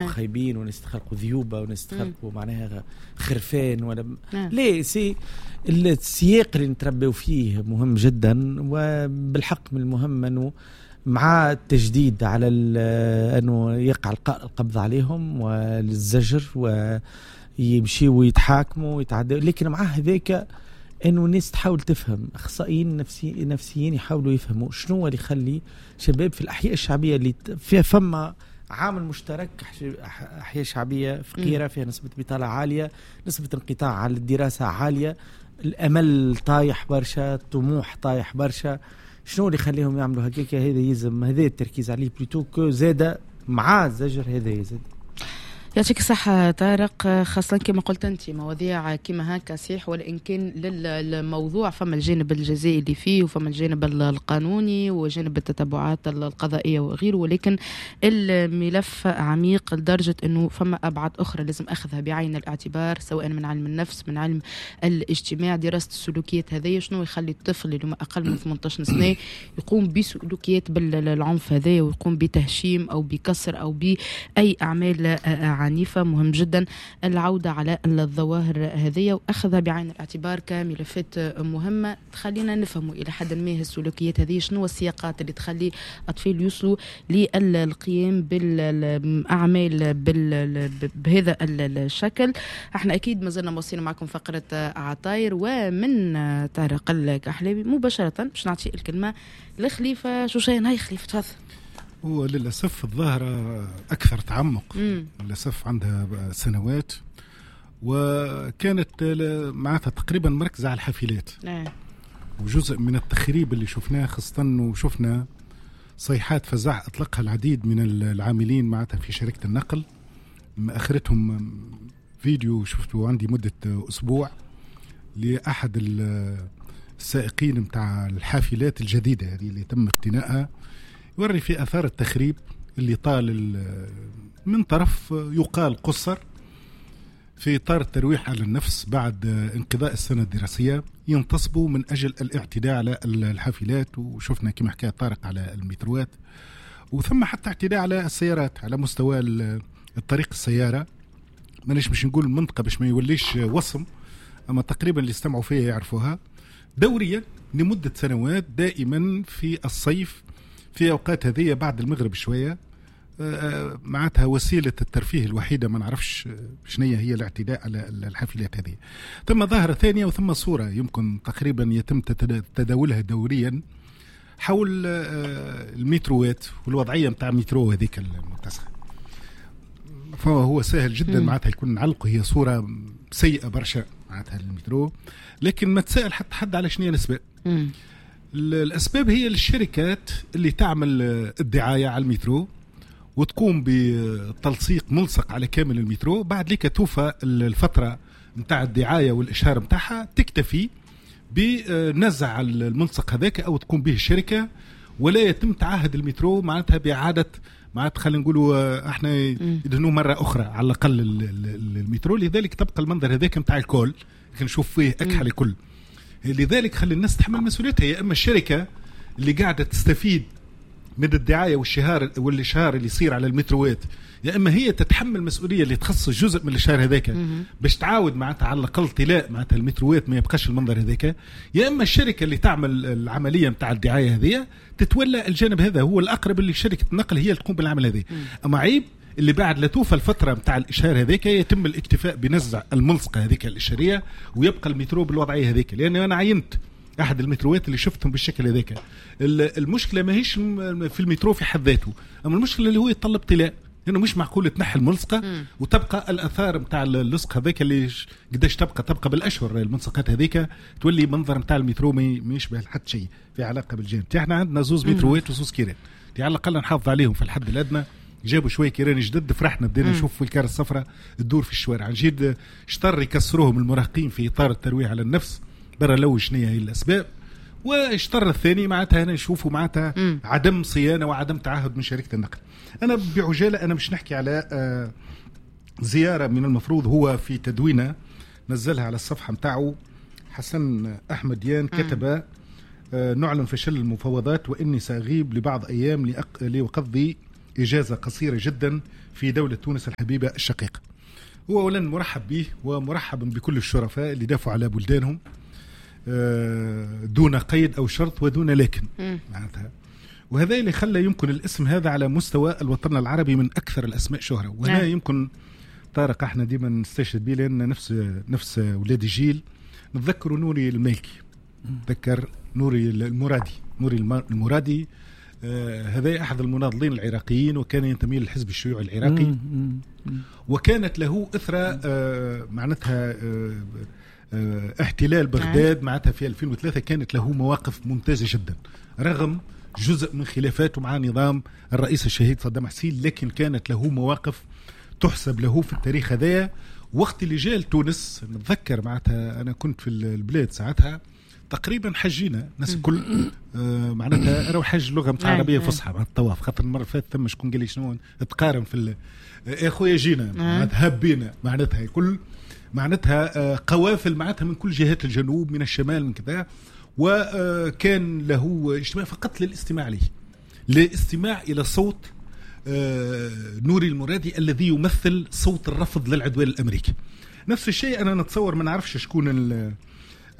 خايبين وناس تخلقوا ذيوبه وناس تخلقوا معناها خرفان ولا ليه. c'est السياق اللي نتربيو فيه مهم جدا، وبالحق من المهم انه مع التجديد على انه يقع القبض عليهم والزجر ويمشيوا ويتحاكموا ويتعدوا، لكن مع هذاك انه الناس تحاول تفهم، اخصائيين نفسيين يحاولوا يفهموا شنو اللي يخلي شباب في الاحياء الشعبية اللي فيها فما عامل مشترك، احياء شعبية فقيرة فيها نسبه بطاله عاليه، نسبه انقطاع على الدراسة عاليه، الامل طايح برشا، الطموح طايح برشا، شنو اللي يخليهم يعملوا هكاك؟ هذا يلزم هذا التركيز عليه plutôt que زاد مع الزجر هذا يزيد. يعطيك الصحة طارق، خاصة كما قلت أنت مواضيع كما هكا صحيح، ولإن كان للموضوع فما الجانب الجزائي اللي فيه وفما الجانب القانوني وجانب التتبعات القضائية وغيره، ولكن الملف عميق لدرجة أنه فما أبعاد أخرى لازم أخذها بعين الاعتبار، سواء من علم النفس، من علم الاجتماع، دراسة السلوكيات هذه، شنو يخلي الطفل اللي أقل من 18 سنة يقوم بسلوكيات بالعنف هذا ويقوم بتهشيم أو بكسر أو بأي أعمال عنيفة. مهم جدا العودة على الظواهر هذه وأخذها بعين الاعتبار كملفات مهمة تخلينا نفهموا إلى حد ما السلوكيات هذه، شنو السياقات اللي تخلي أطفال يوصلوا للقيام بالأعمال بهذا الشكل. احنا أكيد ما زلنا مواصلين معكم فقرة عطاير، ومن طارق الكحلاوي مباشرة باش نعطي الكلمة لخليفة شوشان. هاي خليفة تفضل. هو للأسف الظاهرة أكثر تعمق، للأسف عندها سنوات، وكانت معناتها تقريبا مركزة على الحافلات. وجزء من التخريب اللي شفناه، خاصة وشفنا صيحات فزع أطلقها العديد من العاملين معناتها في شركة النقل، آخرتهم فيديو شفته عندي مدة أسبوع لأحد السائقين متاع الحافلات الجديدة هذه اللي تم اقتنائها، يوري في أثار التخريب اللي طال من طرف يقال قصر في إطار الترويح على النفس بعد انقضاء السنة الدراسية، ينتصبوا من أجل الاعتداء على الحافلات، وشفنا كما حكى طارق على المتروات، وثم حتى اعتداء على السيارات على مستوى الطريق السيارة. مانيش باش نقول المنطقة باش ما يوليش وصم، أما تقريبا اللي استمعوا فيها يعرفوها. دوريا لمدة سنوات دائما في الصيف في أوقات هذه بعد المغرب شوية، معناتها وسيلة الترفيه الوحيدة ما نعرفش شنية هي الاعتداء على الحافلات هذه. ثم ظاهرة ثانية وثم صورة يمكن تقريبا يتم تداولها دوريا حول المتروات والوضعية متاع المترو هذيك المتسخة، فهو سهل جدا معناتها يكون نعلقه، هي صورة سيئة برشا معناتها المترو، لكن ما تسأل حتى حد على شنية الأسباب. الأسباب هي الشركات اللي تعمل الدعاية على المترو وتقوم بتلصيق ملصق على كامل المترو، بعد لك توفى الفترة متاع الدعاية والإشهار متاعها تكتفي بنزع الملصق هذاك أو تقوم به الشركة، ولا يتم تعهد المترو معناتها بإعادة معناتها خلينا نقولوا احنا يدهنوه مرة أخرى على الأقل المترو. لذلك تبقى المنظر هذاك متاع الكل نشوف فيه أكحل الكل. لذلك خلي الناس تحمل مسؤوليتها، يا اما الشركة اللي قاعدة تستفيد من الدعاية والاشهار اللي يصير على المتروات، يا اما هي تتحمل المسؤولية اللي تخصص جزء من الاشهار هذاك باش تعاود معناتها على الاقل طلاء معناتها المتروات ما يبقاش المنظر هذاك، يا اما الشركة اللي تعمل العملية نتاع الدعاية هذه تتولى الجانب هذا، هو الاقرب اللي شركة النقل هي اللي تقوم بالعمل هذا. اما عيب اللي بعد لا توفى الفترة متاع الإشهار هذيك يتم الاكتفاء بنزع الملصقة هذيك الإشهارية ويبقى المترو بالوضعية هذيك، لأن أنا عينت أحد المتروات اللي شفتهم بالشكل هذاك. المشكلة ماهيش في المترو في حد ذاته، أما المشكلة اللي هو يتطلب طلاء، لأنه مش معقول تنحي الملصقة وتبقى الآثار متاع اللصق هذاك اللي قداش تبقى بالأشهر الملصقات هذيك، تولي منظر متاع المترو ما يشبه حتى شيء في علاقة بالجانب. احنا عندنا زوز متروات وزوز كيران، على الأقل نحافظ عليهم في الحد الأدنى. جابوا شوية كيران جدد، فرحنا بدينا نشوف في الكار الصفراء تدور في الشوارع، نجيد شطر يكسروهم المراهقين في اطار الترويح على النفس برا لو شنية هي الاسباب، والشطر الثاني معناتها هنا نشوفوا معناتها عدم صيانة وعدم تعهد من شركة النقل. انا بعجاله انا مش نحكي على زيارة من المفروض هو في تدوينه نزلها على الصفحة نتاعو حسن احمد يان، كتب نعلن فشل المفاوضات واني ساغيب لبعض ايام لاقضي إجازة قصيرة جدا في في دولة تونس الحبيبة الشقيقة. هو أولا مرحب به ومرحب بكل الشرفاء اللي دافعوا على بلدانهم دون قيد أو شرط ودون لكن معناتها، وهذا اللي خلى يمكن الاسم هذا على مستوى الوطن العربي من أكثر الأسماء شهرة. وهنا يمكن طارق احنا ديما نستشهد به لأن نفس ولاد الجيل نتذكروا نوري المالكي، نتذكر نوري المرادي. نوري المرادي هذا أحد المناضلين العراقيين وكان ينتمي للحزب الشيوعي العراقي، وكانت له إثرة معناتها احتلال بغداد معناتها في 2003 كانت له مواقف ممتازة جدا رغم جزء من خلافاته مع نظام الرئيس الشهيد صدام حسين، لكن كانت له مواقف تحسب له في التاريخ هذايا. وقت اللي جاء لتونس نتذكر معناتها أنا كنت في البلاد ساعتها تقريبا حجينا الناس الكل معناتها راهو حج لغة نتاع عربية فصحى مع الطواف، خاطر المرة اللي فاتت ثم شكون قال لي شنو تقارن في يا خويا جينا معناتها هبينا معناتها كل معناتها قوافل معناتها من كل جهات الجنوب من الشمال من كذا، وكان له اجتماع فقط للاستماع له، للاستماع الى صوت نوري المرادي الذي يمثل صوت الرفض للعدوان الامريكي. نفس الشيء انا نتصور ما نعرفش شكون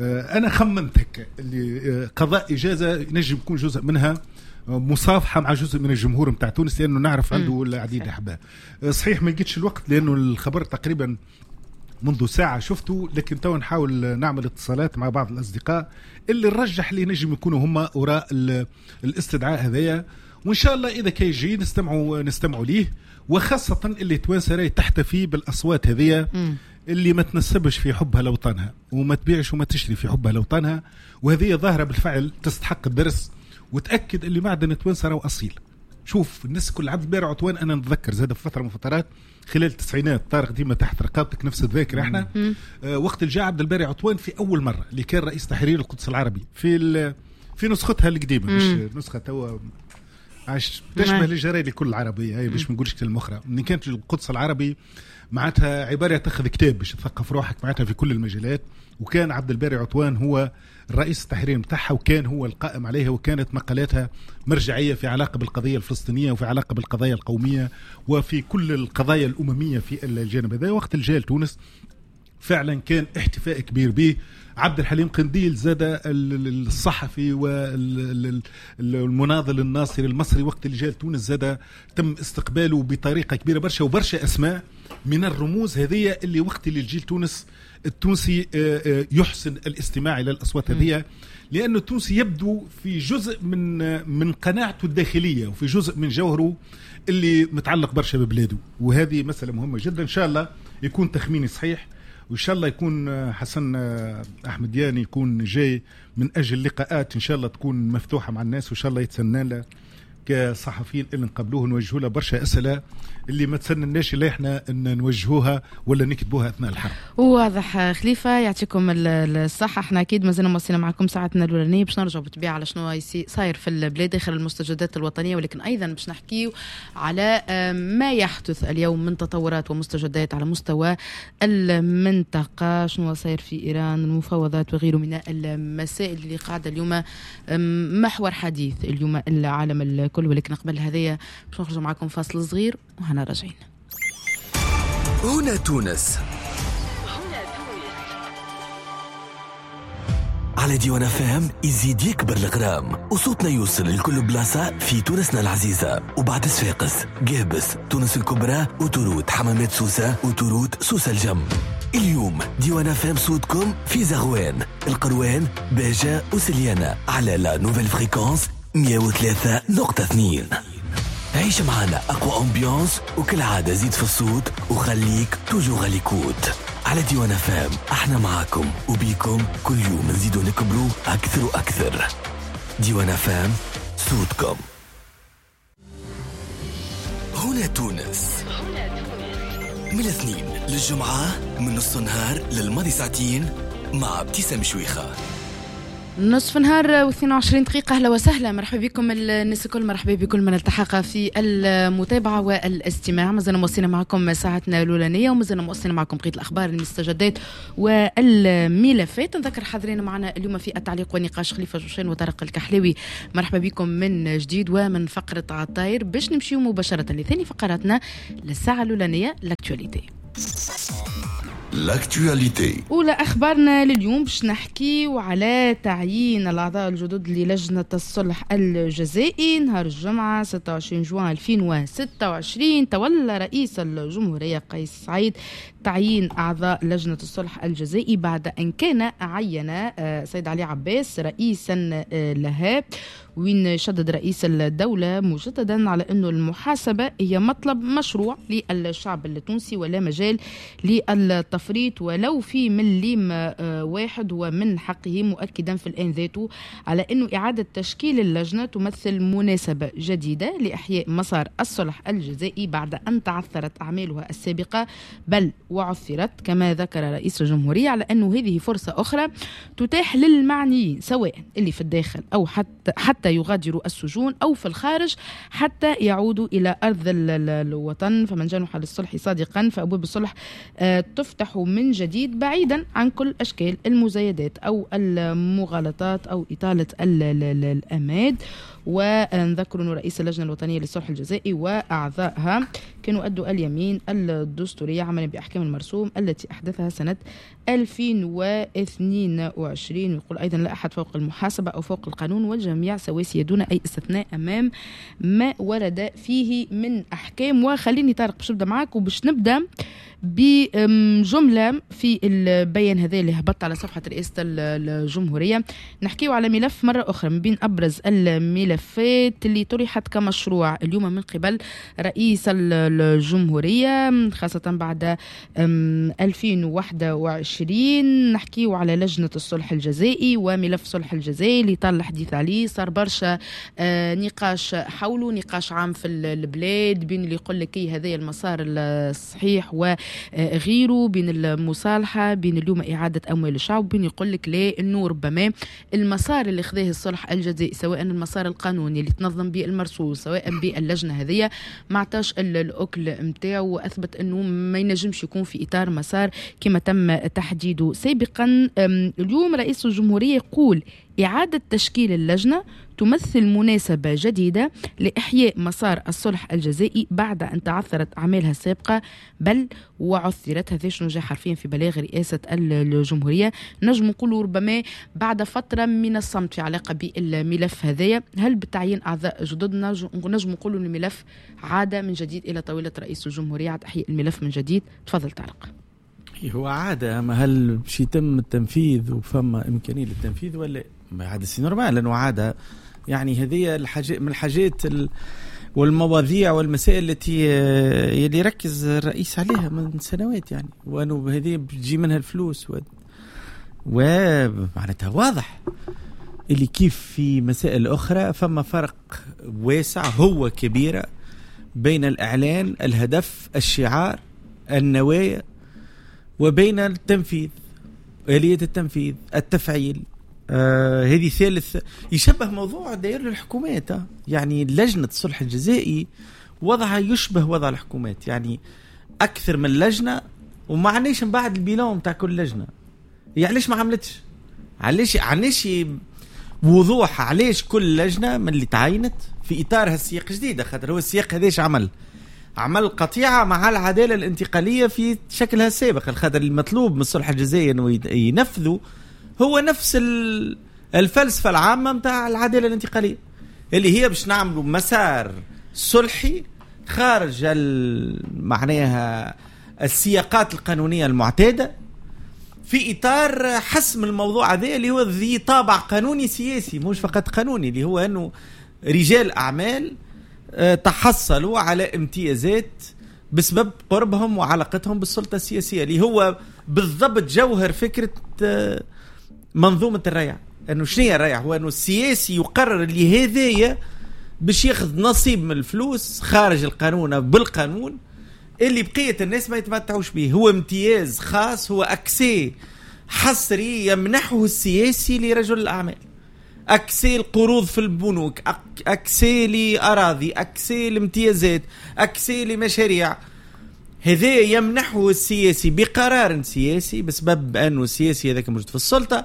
انا خمنتك اللي قضاء اجازه نجم يكون جزء منها مصافحه مع جزء من الجمهور نتاع تونس، لانه نعرف عنده العديد الاحباء. صحيح ما لقيتش الوقت لانه الخبر تقريبا منذ ساعة شفته، لكن تو نحاول نعمل اتصالات مع بعض الأصدقاء اللي نرجح اللي نجم يكونوا هم وراء الاستدعاء هذايا، وإن شاء الله إذا كي يجي نستمعوا ليه، وخاصة اللي توانسة راهي تحتفي بالأصوات هذيا اللي ما تنسبش في حبها لوطنها وما تبيعش وما تشري في حبها لوطنها، وهذه ظاهرة بالفعل تستحق الدرس وتأكد اللي معدن توانسة راهو أصيل. شوف الناس كل عبد الباري عطوان أنا نتذكر زاد في فترة من فترات خلال التسعينات، طارق ديما تحت رقابتك نفس الذاكرة احنا وقت الجاء عبد الباري عطوان في أول مرة اللي كان رئيس تحرير القدس العربي في نسختها القديمة، مش نسخة توا عاش تشبه الجرايد الكل العربية، هي باش ما نقولش كلمة أخرى. من كانت القدس العربي معناتها عبارة تاخذ كتاب باش تثقف روحك معناتها في كل المجالات، وكان عبد الباري عطوان هو الرئيس التحرير متاعها وكان هو القائم عليها، وكانت مقالاتها مرجعية في علاقة بالقضية الفلسطينية وفي علاقة بالقضايا القومية وفي كل القضايا الأممية في الجانب هذا. وقت الجال تونس فعلا كان احتفاء كبير به. عبد الحليم قنديل زاد الصحفي والمناضل الناصري المصري وقت اللي جاء تونس زاد تم استقباله بطريقة كبيرة برشا، وبرشا أسماء من الرموز هذه اللي وقت اللي الجيل تونس التونسي يحسن الاستماع إلى الأصوات هذه، لأن التونسي يبدو في جزء من قناعته الداخلية وفي جزء من جوهره اللي متعلق برشا ببلاده، وهذه مسألة مهمة جدا. إن شاء الله يكون تخميني صحيح، وإن شاء الله يكون حسن أحمد ياني يكون جاي من أجل لقاءات إن شاء الله تكون مفتوحة مع الناس، وإن شاء الله يتسنى له كصحفيين اللي نقابلوه نوجهوا له برشا أسئلة اللي ما تسنناش اللي احنا ان نوجهوها ولا نكتبوها اثناء الحرب. واضح خليفة، يعطيكم الصحة. احنا اكيد مازلنا مواصلين معكم ساعتنا الاولانية باش نرجعوا بالطبيعة على شنو صاير في البلاد داخل المستجدات الوطنية، ولكن ايضا باش نحكيو على ما يحدث اليوم من تطورات ومستجدات على مستوى المنطقة، شنو صاير في ايران، المفاوضات وغيره من المسائل اللي قاعدة اليوم محور حديث اليوم العالم الكل. ولكن قبل هذايا باش نخرج معكم فاصل صغير وهنا راجعين. هنا تونس على ديوان فهم يزيد يكبر الغرام وصوتنا يوصل لكل بلاصة في تونسنا العزيزة، وبعد صفاقس، قابس، تونس الكبرى، وتروت حمامات سوسة، وتروت سوسة الجم. اليوم ديوان فهم صوتكم في زغوان، القروان، باجة وسليانة على la nouvelle fréquence 103.2. عيش معنا أقوى ambiance وكل عادة زيد في الصوت وخليك toujours à l'écoute على ديوان فام. احنا معاكم وبيكم كل يوم نزيدو نكبرو أكثر وأكثر. ديوان فام صوتكم. هنا تونس من الاثنين للجمعة من نص النهار للماضي ساعتين مع ابتسام شويخة. نصف نهار و22 دقيقة. أهلا وسهلا، مرحبا بكم الناس الكل، مرحبا بكل من التحق في المتابعة والاستماع. مازلنا مواصلين معكم ساعتنا الأولانية ومازلنا مواصلين معكم بقية الأخبار، المستجدات والملفات. نذكر حاضرين معنا اليوم في التعليق والنقاش خليفة جوشان وطارق الكحلاوي. مرحبا بكم من جديد ومن فقرة عطاير باش نمشيو مباشرة لثاني فقراتنا للساعة الأولانية، l'actualité. L'actualité. أولى أخبارنا لليوم باش نحكيو على تعيين الأعضاء الجدد للجنة الصلح الجزائي. نهار الجمعة 26 جوان 2026 تولى رئيس الجمهورية قيس سعيد تعيين أعضاء لجنة الصلح الجزائي بعد أن كان عين سيد علي عباس رئيسا لها، وين شدد رئيس الدولة مجددا على أنه المحاسبة هي مطلب مشروع للشعب التونسي ولا مجال للتفريط ولو في مليم واحد ومن حقه، مؤكدا في الآن ذاته على أنه إعادة تشكيل اللجنة تمثل مناسبة جديدة لإحياء مسار الصلح الجزائي بعد أن تعثرت أعمالها السابقة بل وعثرت، كما ذكر رئيس الجمهورية على أنه هذه فرصة أخرى تتاح للمعنيين سواء اللي في الداخل أو حتى يغادروا السجون أو في الخارج حتى يعودوا إلى أرض الوطن. فمن جنح للصلح صادقا فأبواب الصلح تفتح من جديد بعيدا عن كل أشكال المزايدات أو المغالطات أو إطالة الأماد. ونذكر أن رئيس اللجنة الوطنية للصلح الجزائي وأعضائها كانوا أدوا اليمين الدستورية عملا بأحكام المرسوم التي أحدثها سنة 2022. ويقول أيضا لا أحد فوق المحاسبة أو فوق القانون والجميع سواسية دون أي استثناء أمام ما ورد فيه من أحكام. وخليني طارق باش نبدأ معك وباش نبدأ بجملة في البيان هذا اللي هبط على صفحة رئاسة الجمهورية. نحكيه على ملف مرة أخرى من بين أبرز الملفات اللي طرحت كمشروع اليوم من قبل رئيس الجمهورية خاصة بعد 2021. نحكيه على لجنة الصلح الجزائي وملف صلح الجزائي اللي طال الحديث عليه، صار برشا نقاش حوله، نقاش عام في البلاد بين اللي يقول لك هذا المسار الصحيح و غيره، بين المصالحة، بين اليوم إعادة أموال الشعب، بين يقول لك لا إنه ربما المسار اللي خذاه الصلح الجزائي سواء المسار القانوني اللي تنظم به المرسوم سواء باللجنة هذه ما عطاش الأكل متاعه وأثبت إنه ما ينجمش يكون في إطار مسار كما تم تحديده سابقا. اليوم رئيس الجمهورية يقول إعادة تشكيل اللجنة تمثل مناسبة جديدة لإحياء مسار الصلح الجزائي بعد أن تعثرت أعمالها السابقة بل وعثرت. هذا شنو جاء حرفيا في بلاغ رئاسة الجمهورية. نجم نقول ربما بعد فترة من الصمت في علاقة بالملف هذايا، هل بتعيين أعضاء جدد نجم نقول أن الملف عاد من جديد إلى طاولة رئيس الجمهورية، عاد إحياء الملف من جديد؟ تفضل طارق. هو عادة، أما هل باش يتم التنفيذ وفما إمكانية للتنفيذ ولا عادة؟ c'est normal لأنه عادة، يعني هذه الحاجات من الحاجات والمواضيع والمسائل التي اللي ركز الرئيس عليها من سنوات، يعني وأنه هذه بتجي منها الفلوس ومعناتها واضح اللي كيف في مسائل أخرى فما فرق واسع هو كبيرة بين الإعلان، الهدف، الشعار، النوايا، وبين التنفيذ، آلية التنفيذ، التفعيل. هذه ثالث يشبه موضوع دائر للحكومات، يعني لجنة الصلح الجزائي وضعها يشبه وضع الحكومات، يعني أكثر من لجنة وما عناش من بعد ال bilan تاع كل لجنة. يعني علاش ما عملتش؟ علاش وضوح؟ علاش كل لجنة من اللي تعينت في إطار هالسياق جديدة؟ خاطر هو السياق هذاش عمل قطيعة مع العدالة الانتقالية في شكلها السابق. الخاطر المطلوب من الصلح الجزائي أنه ينفذه هو نفس الفلسفة العامة متاع العدالة الانتقالية اللي هي باش نعملوا مسار صلحي خارج معناها السياقات القانونية المعتادة في إطار حسم الموضوع هذا اللي هو ذي طابع قانوني سياسي مش فقط قانوني، اللي هو أنه رجال أعمال تحصلوا على امتيازات بسبب قربهم وعلاقتهم بالسلطة السياسية، اللي هو بالضبط جوهر فكرة منظومة الريع. أنه شنو الريع؟ هو أنه السياسي يقرر اللي هذايا باش ياخذ نصيب من الفلوس خارج القانون بالقانون اللي بقية الناس ما يتمتعوش به. هو امتياز خاص، هو accès حصري يمنحه السياسي لرجل الأعمال. accès القروض في البنوك، accès لاراضي، accès لامتيازات، accès لمشاريع. هذا يمنحه السياسي بقرار سياسي بسبب انه السياسي هذاك موجود في السلطة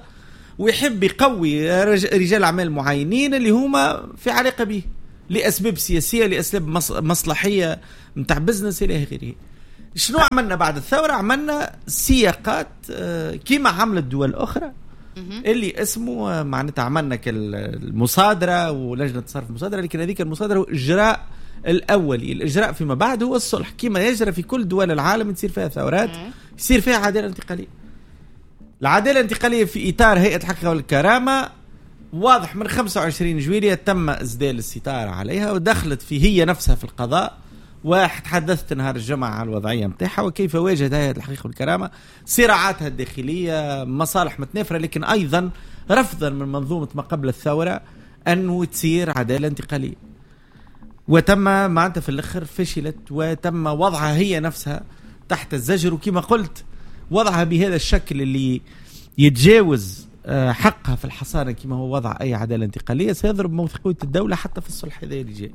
ويحب يقوي رجال اعمال معينين اللي هما في علاقة به لاسباب سياسية، لاسباب مصلحيه نتاع business الى اخره. شنو عملنا بعد الثورة؟ عملنا سياقات كيما عملت دول اخرى اللي اسمه معناتها عملنا المصادرة ولجنه صرف المصادرة، لكن هذيك المصادرة هو اجراء الاولي، الاجراء فيما بعد هو الصلح كما يجرى في كل دول العالم تصير فيها ثورات، يصير فيها عدالة انتقالية. العدالة الانتقالية في اطار هيئة الحقيقة والكرامة واضح من 25 جويلية تم اسدال الستارة عليها ودخلت في هي نفسها في القضاء، وتحدثت نهار الجمعة على الوضعية متاعها وكيف واجهت هيئة الحقيقة والكرامة صراعاتها الداخلية، مصالح متنافرة، لكن أيضا رفضا من منظومة ما قبل الثورة أنه تصير عدالة انتقالية، وتم معناتها في الآخر فشلت وتم وضعها هي نفسها تحت الزجر، وكما قلت وضعها بهذا الشكل اللي يتجاوز حقها في الحصانة كما هو وضع أي عدالة انتقالية سيضرب موثقية الدولة حتى في الصلح هذا اللي جاي.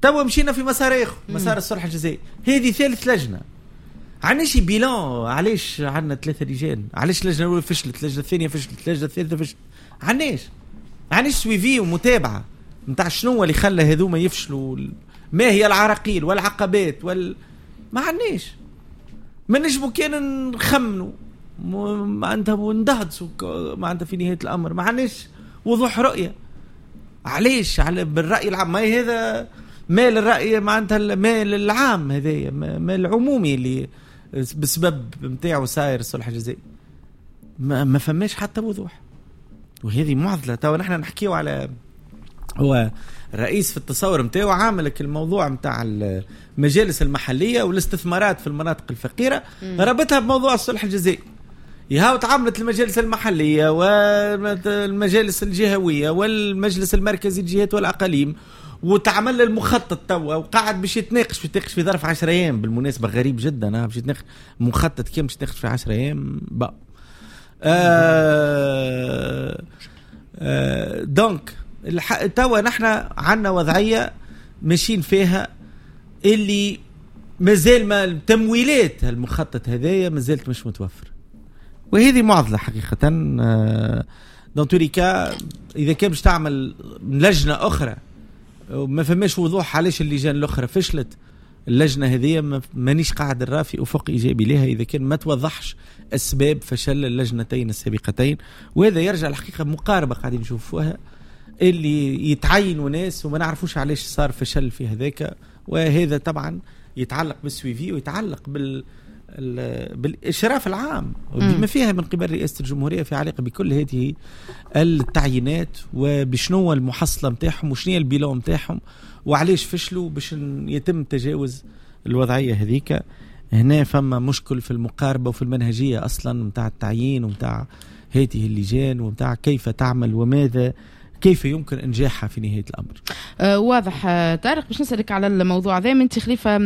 توا مشينا في مسار اخر، مسار الصلح الجزائي. هذه ثالث لجنة، عندناش bilan. علاش عندنا 3 لجان؟ علاش اللجنة الاولى فشلت، اللجنة الثانية فشلت، اللجنة الثالثة فشلت؟ عندناش suivi ومتابعة نتاع شنو اللي خلى هذوما يفشلوا، ما هي العراقيل والعقبات ما عندناش. ما نجمو كان نخمنوا معناتها وندهدسوا معناتها في نهاية الامر، ما عندناش وضوح رؤية. علاش؟ على بالراي العام، ما هذا مال الرأي معناتها المال العام، هذايا مال العمومي اللي بسبب نتاعو صاير الصلح الجزائي، ما فماش حتى وضوح، وهذه معضلة. تو نحن نحكيو على هو الرئيس في التصور نتاعو عاملك الموضوع نتاع المجالس المحلية والاستثمارات في المناطق الفقيرة ربطها بموضوع الصلح الجزائي. يهاو تعاملت المجالس المحلية والمجالس الجهوية والمجلس المركزي للجهات والأقاليم، وتعمل المخطط توا وقاعد باش يتناقش في ظرف 10 ايام. بالمناسبة غريب جدا باش يتناقش مخطط كم باش يتناقش في 10 ايام بقى. donc توا نحن عندنا وضعية ماشيين فيها اللي مازال ما التمويلات المخطط هذايا مازالت مش متوفر، وهذه معضلة حقيقة. dans tous les cas اذا كان باش تعمل لجنة اخرى ما فماش وضوح علاش اللجان الاخرى فشلت، اللجنة هذه مانيش قاعد نرى في افق ايجابي لها اذا كان ما توضحش اسباب فشل اللجنتين السابقتين. وهذا يرجع الحقيقة مقاربة قاعدين نشوفوها اللي يتعينوا ناس وما نعرفوش علاش صار فشل في هذاك، وهذا طبعا يتعلق بال suivi ويتعلق بالإشراف العام بما فيها من قبل رئاسة الجمهورية في علاقة بكل هذه التعيينات وبشنو المحصلة متاعهم وشنو ال bilan متاعهم وعلاش فشلوا باش يتم تجاوز الوضعية هذيك. هنا فما مشكل في المقاربة وفي المنهجية أصلا متاع التعيين ومتاع هذه اللجان ومتاع كيف تعمل وماذا كيف يمكن انجاحها في نهاية الامر. واضح طارق. باش نسالك على الموضوع ذا، انت خليفة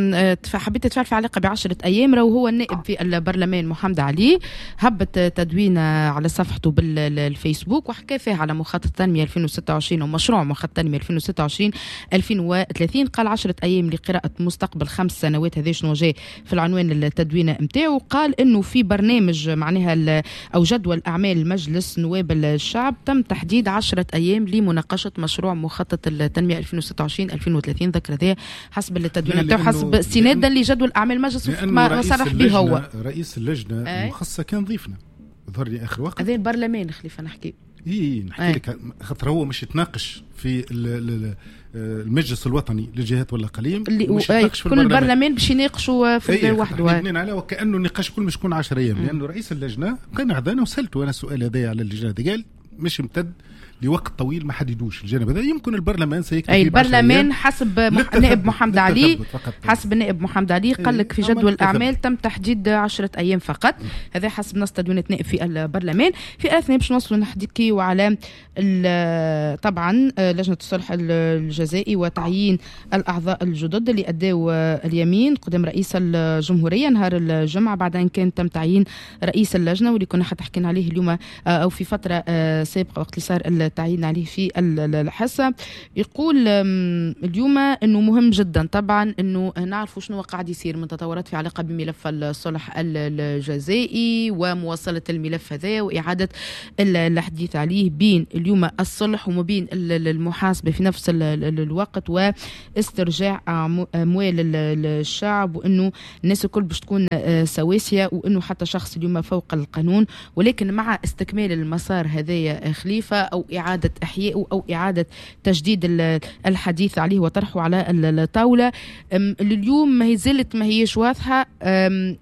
حبيت تتفاعل في علاقة ب10 ايام، راهو هو النائب في البرلمان محمد علي هبط تدوين على صفحته بالفيسبوك وحكى فيها على مخطط التنمية 2026 ومشروع مخطط التنمية 2026 2030. قال 10 ايام لقراءة مستقبل 5 سنوات، هذا شنو جاي في العنوان التدوين نتاعو. قال انه في برنامج معناها او جدول اعمال مجلس نواب الشعب تم تحديد 10 ايام لمناقشة مشروع مخطط التنمية 2026 2030. ذكر ذا حسب التدوين نتاعو حسب استنادا لجدول اعمال المجلس ما صرح به هو. رئيس اللجنة المخصصة كان ضيفنا ظهر لي اخر وقت، هذا البرلمان خليفة نحكي نحكي لك خاطر هو مش يتناقش في المجلس الوطني للجهات والاقاليم، مش يتناقش في كل البرلمان باش يناقشوا في وحده اثنين عليه، وكانه النقاش كل مش يكون 10 ايام. لانه رئيس اللجنة كان عذانا وسالته انا السؤال هذا على اللجنة، قال مش امتد لوقت طويل ما حددوش الجانب هذا. يمكن البرلمان سيكتفي، اي البرلمان حسب النائب محمد علي، حسب النائب محمد علي قال لك في جدول الاعمال تم تحديد 10 ايام فقط، هذا حسب نص تدوينة نائب في البرلمان. في اثناء باش نوصلوا نحكيو على طبعا لجنة الصلح الجزائي وتعيين الاعضاء الجدد اللي اداوا اليمين قدام رئيس الجمهورية نهار الجمعة، بعد ان كان تم تعيين رئيس اللجنة واللي كنا حتى حكينا عليه اليوم او في فترة سابقه وقت اللي صار التعيين عليه في الحصة. يقول اليوم أنه مهم جدا طبعا أنه نعرفوا شنو قاعد يصير من تطورات في علاقة بملف الصلح الجزائي ومواصلة الملف هذا وإعادة الحديث عليه بين اليوم الصلح وما بين المحاسبة في نفس الوقت واسترجاع أموال الشعب، وأنه الناس الكل باش تكون سواسية وأنه حتى شخص اليوم فوق القانون. ولكن مع استكمال المسار هذايا خليفة أو إعادة إحيائه أو إعادة تجديد الحديث عليه وطرحه على الطاولة، لليوم ما هي زالت ما هيش واضحة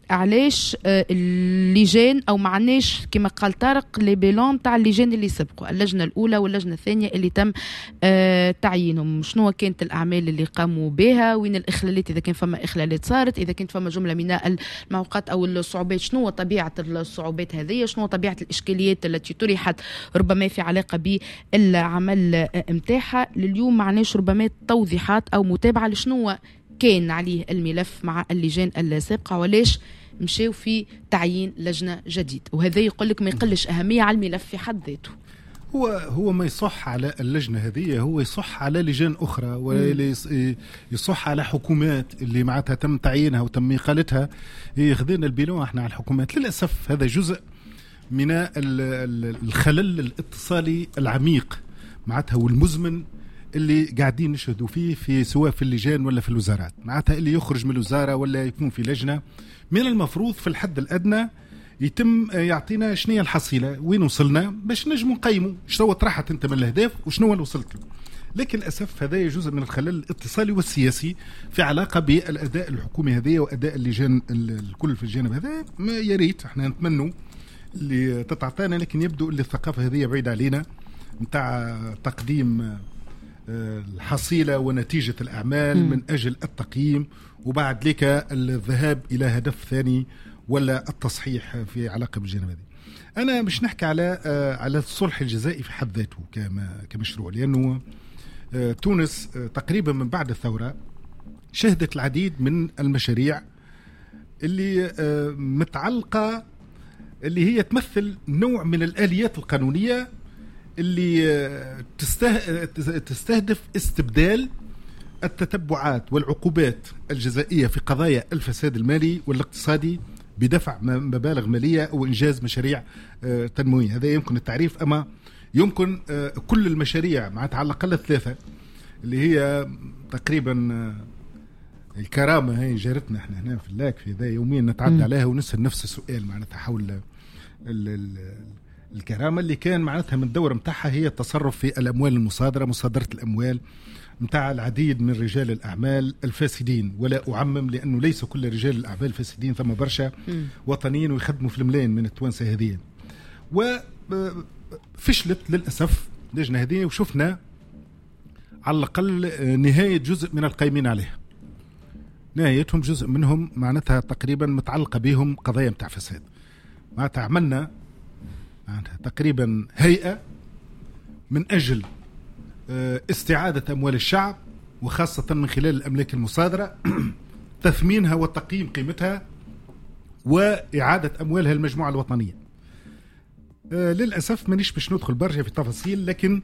علاش اللجان أو ما عناش كما قال طارق les bilans تاع اللجان اللي سبقوا، اللجنة الأولى واللجنة الثانية اللي تم تعيينهم، شنو كانت الأعمال اللي قاموا بها، وين الإخلالات إذا كان فما إخلالات صارت، إذا كانت فما جملة من المعوقات أو الصعوبات، شنو طبيعة الصعوبات هذه، شنو طبيعة الإشكاليات التي طرحت ربما في علاقة بالعمل متاعها. لليوم معناش ربما توضيحات أو متابعة لشنو كان عليه الملف مع اللجان السابقة ولاش مشاو في تعيين لجنة جديد، وهذا يقول لك ما يقلش أهمية على الملف في حد ذاته. هو ما يصح على اللجنة هذه، هو يصح على لجان أخرى ولا يصح على حكومات اللي معناتها تم تعيينها وتم إقالتها. خذينا ال bilan احنا على الحكومات. للأسف هذا جزء من الخلل الاتصالي العميق معناتها والمزمن اللي قاعدين نشهدوا فيه في سواء في اللجان ولا في الوزارات. معناتها اللي يخرج من الوزارة ولا يكون في لجنة من المفروض في الحد الأدنى يتم يعطينا شنو هي الحصيلة، وين وصلنا، باش نجموا نقيموا شنو طرحت انت من الاهداف وشنو اللي وصلت له. لكن للاسف هذا جزء من الخلل الاتصالي والسياسي في علاقة بالاداء الحكومي هذه واداء اللجان الكل في الجانب هذا. ما يا ريت احنا نتمنوا اللي تتعطانا، لكن يبدو اللي الثقافة هذه بعيدة علينا نتاع تقديم الحصيلة ونتيجة الاعمال من اجل التقييم وبعد لك الذهاب الى هدف ثاني ولا التصحيح في علاقة بالجانب هذه. أنا مش نحكي على الصلح الجزائي في حد ذاته كمشروع، لأنه تونس تقريبا من بعد الثورة شهدت العديد من المشاريع اللي متعلقة اللي هي تمثل نوع من الآليات القانونية اللي تستهدف استبدال التتبعات والعقوبات الجزائية في قضايا الفساد المالي والاقتصادي بدفع مبالغ مالية أو إنجاز مشاريع تنموية. هذا يمكن التعريف، أما يمكن كل المشاريع معناتها على الأقل 3 اللي هي تقريبا الكرامة هي جارتنا احنا هنا في اللاك في ذا يوميا نتعدى عليها ونسأل نفس السؤال معناتها حول الكرامة اللي كان معناتها من الدور متاعها هي التصرف في الأموال المصادرة، مصادرة الأموال متاع العديد من رجال الأعمال الفاسدين، ولا أعمم لأنه ليس كل رجال الأعمال فاسدين، ثم برشا وطنيين ويخدموا في الملايين من التوانسة هذه. وفشلت للأسف اللجنة هذه، وشفنا على الأقل نهاية جزء من القايمين عليها، نهايتهم جزء منهم معناتها تقريبا متعلقة بهم قضايا متاع فساد. معناتها عملنا معناتها تقريبا هيئة من أجل استعادة أموال الشعب، وخاصة من خلال الأملاك المصادرة تثمينها وتقييم قيمتها وإعادة أموالها المجموعة الوطنية. للأسف مانيش باش ندخل برشا في تفاصيل، لكن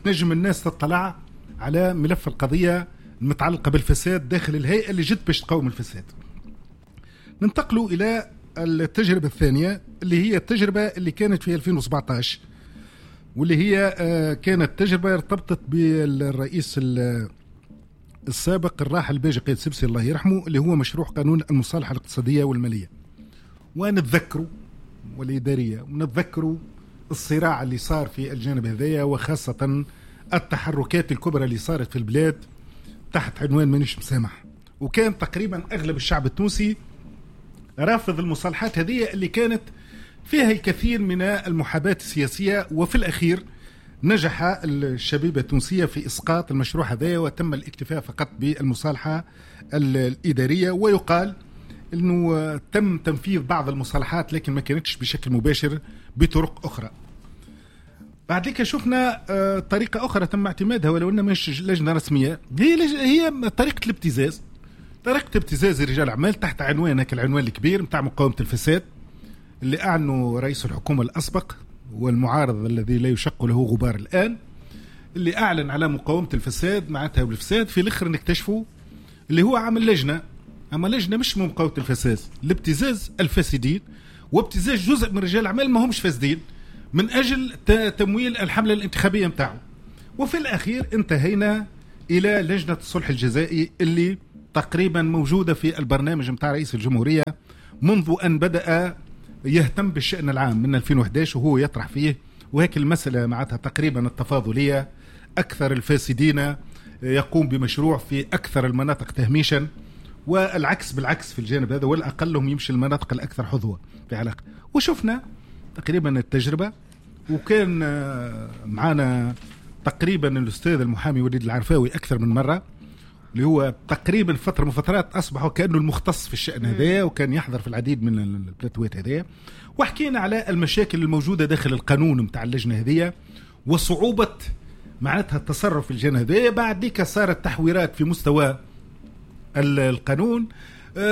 تنجم الناس تطلع على ملف القضية المتعلقة بالفساد داخل الهيئة اللي جت باش تقاوم الفساد. ننتقلوا إلى التجربة الثانية اللي هي التجربة اللي كانت في 2017، واللي هي كانت تجربة ارتبطت بالرئيس السابق الراحل الباجي قايد سبسي الله يرحمه، اللي هو مشروع قانون المصالحة الاقتصادية والمالية. ونتذكروا والإدارية، ونتذكروا الصراع اللي صار في الجانب هذايا، وخاصة التحركات الكبرى اللي صارت في البلاد تحت عنوان مانيش مسامح. وكان تقريبا أغلب الشعب التونسي رافض المصالحات هذه اللي كانت فيها الكثير من المحاباة السياسية، وفي الأخير نجح الشبيبة التونسية في إسقاط المشروع هذا، وتم الاكتفاء فقط بالمصالحة الإدارية. ويقال أنه تم تنفيذ بعض المصالحات لكن ما كانتش بشكل مباشر بطرق أخرى. بعد ذلك شفنا طريقة أخرى تم اعتمادها ولو أنها مش لجنة رسمية، هي طريقة الابتزاز، طريقة ابتزاز رجال الأعمال تحت عنوان العنوان الكبير متاع مقاومة الفساد اللي أعلنوا رئيس الحكومة الأسبق والمعارض الذي لا يشق له غبار الآن، اللي أعلن على مقاومة الفساد معناتها والفساد، في الآخر نكتشفوا اللي هو عامل لجنة، أما لجنة مش مقاومة الفساد، الابتزاز الفاسدين وابتزاز جزء من رجال الأعمال ما همش فاسدين من أجل تمويل الحملة الانتخابية متاعه. وفي الأخير انتهينا إلى لجنة الصلح الجزائي اللي تقريبا موجودة في البرنامج متاع رئيس الجمهورية منذ أن بدأ يهتم بالشأن العام من 2011 وهو يطرح فيه. وهيك المسألة معناتها تقريبا التفاضلية، أكثر الفاسدين يقوم بمشروع في أكثر المناطق تهميشا، والعكس بالعكس في الجانب هذا، والأقلهم يمشي المناطق الأكثر حظوة في علاقة. وشفنا تقريبا التجربة، وكان معنا تقريبا الأستاذ المحامي وليد العرفاوي أكثر من مرة، اللي هو تقريبا فترة من فترات أصبح كأنه المختص في الشأن هذا، وكان يحضر في العديد من البلاتوات هذه، وحكينا على المشاكل الموجودة داخل القانون متاع اللجنة هذه وصعوبة معناتها التصرف في اللجنة هذه. بعد ديك صارت تحويرات في مستوى القانون،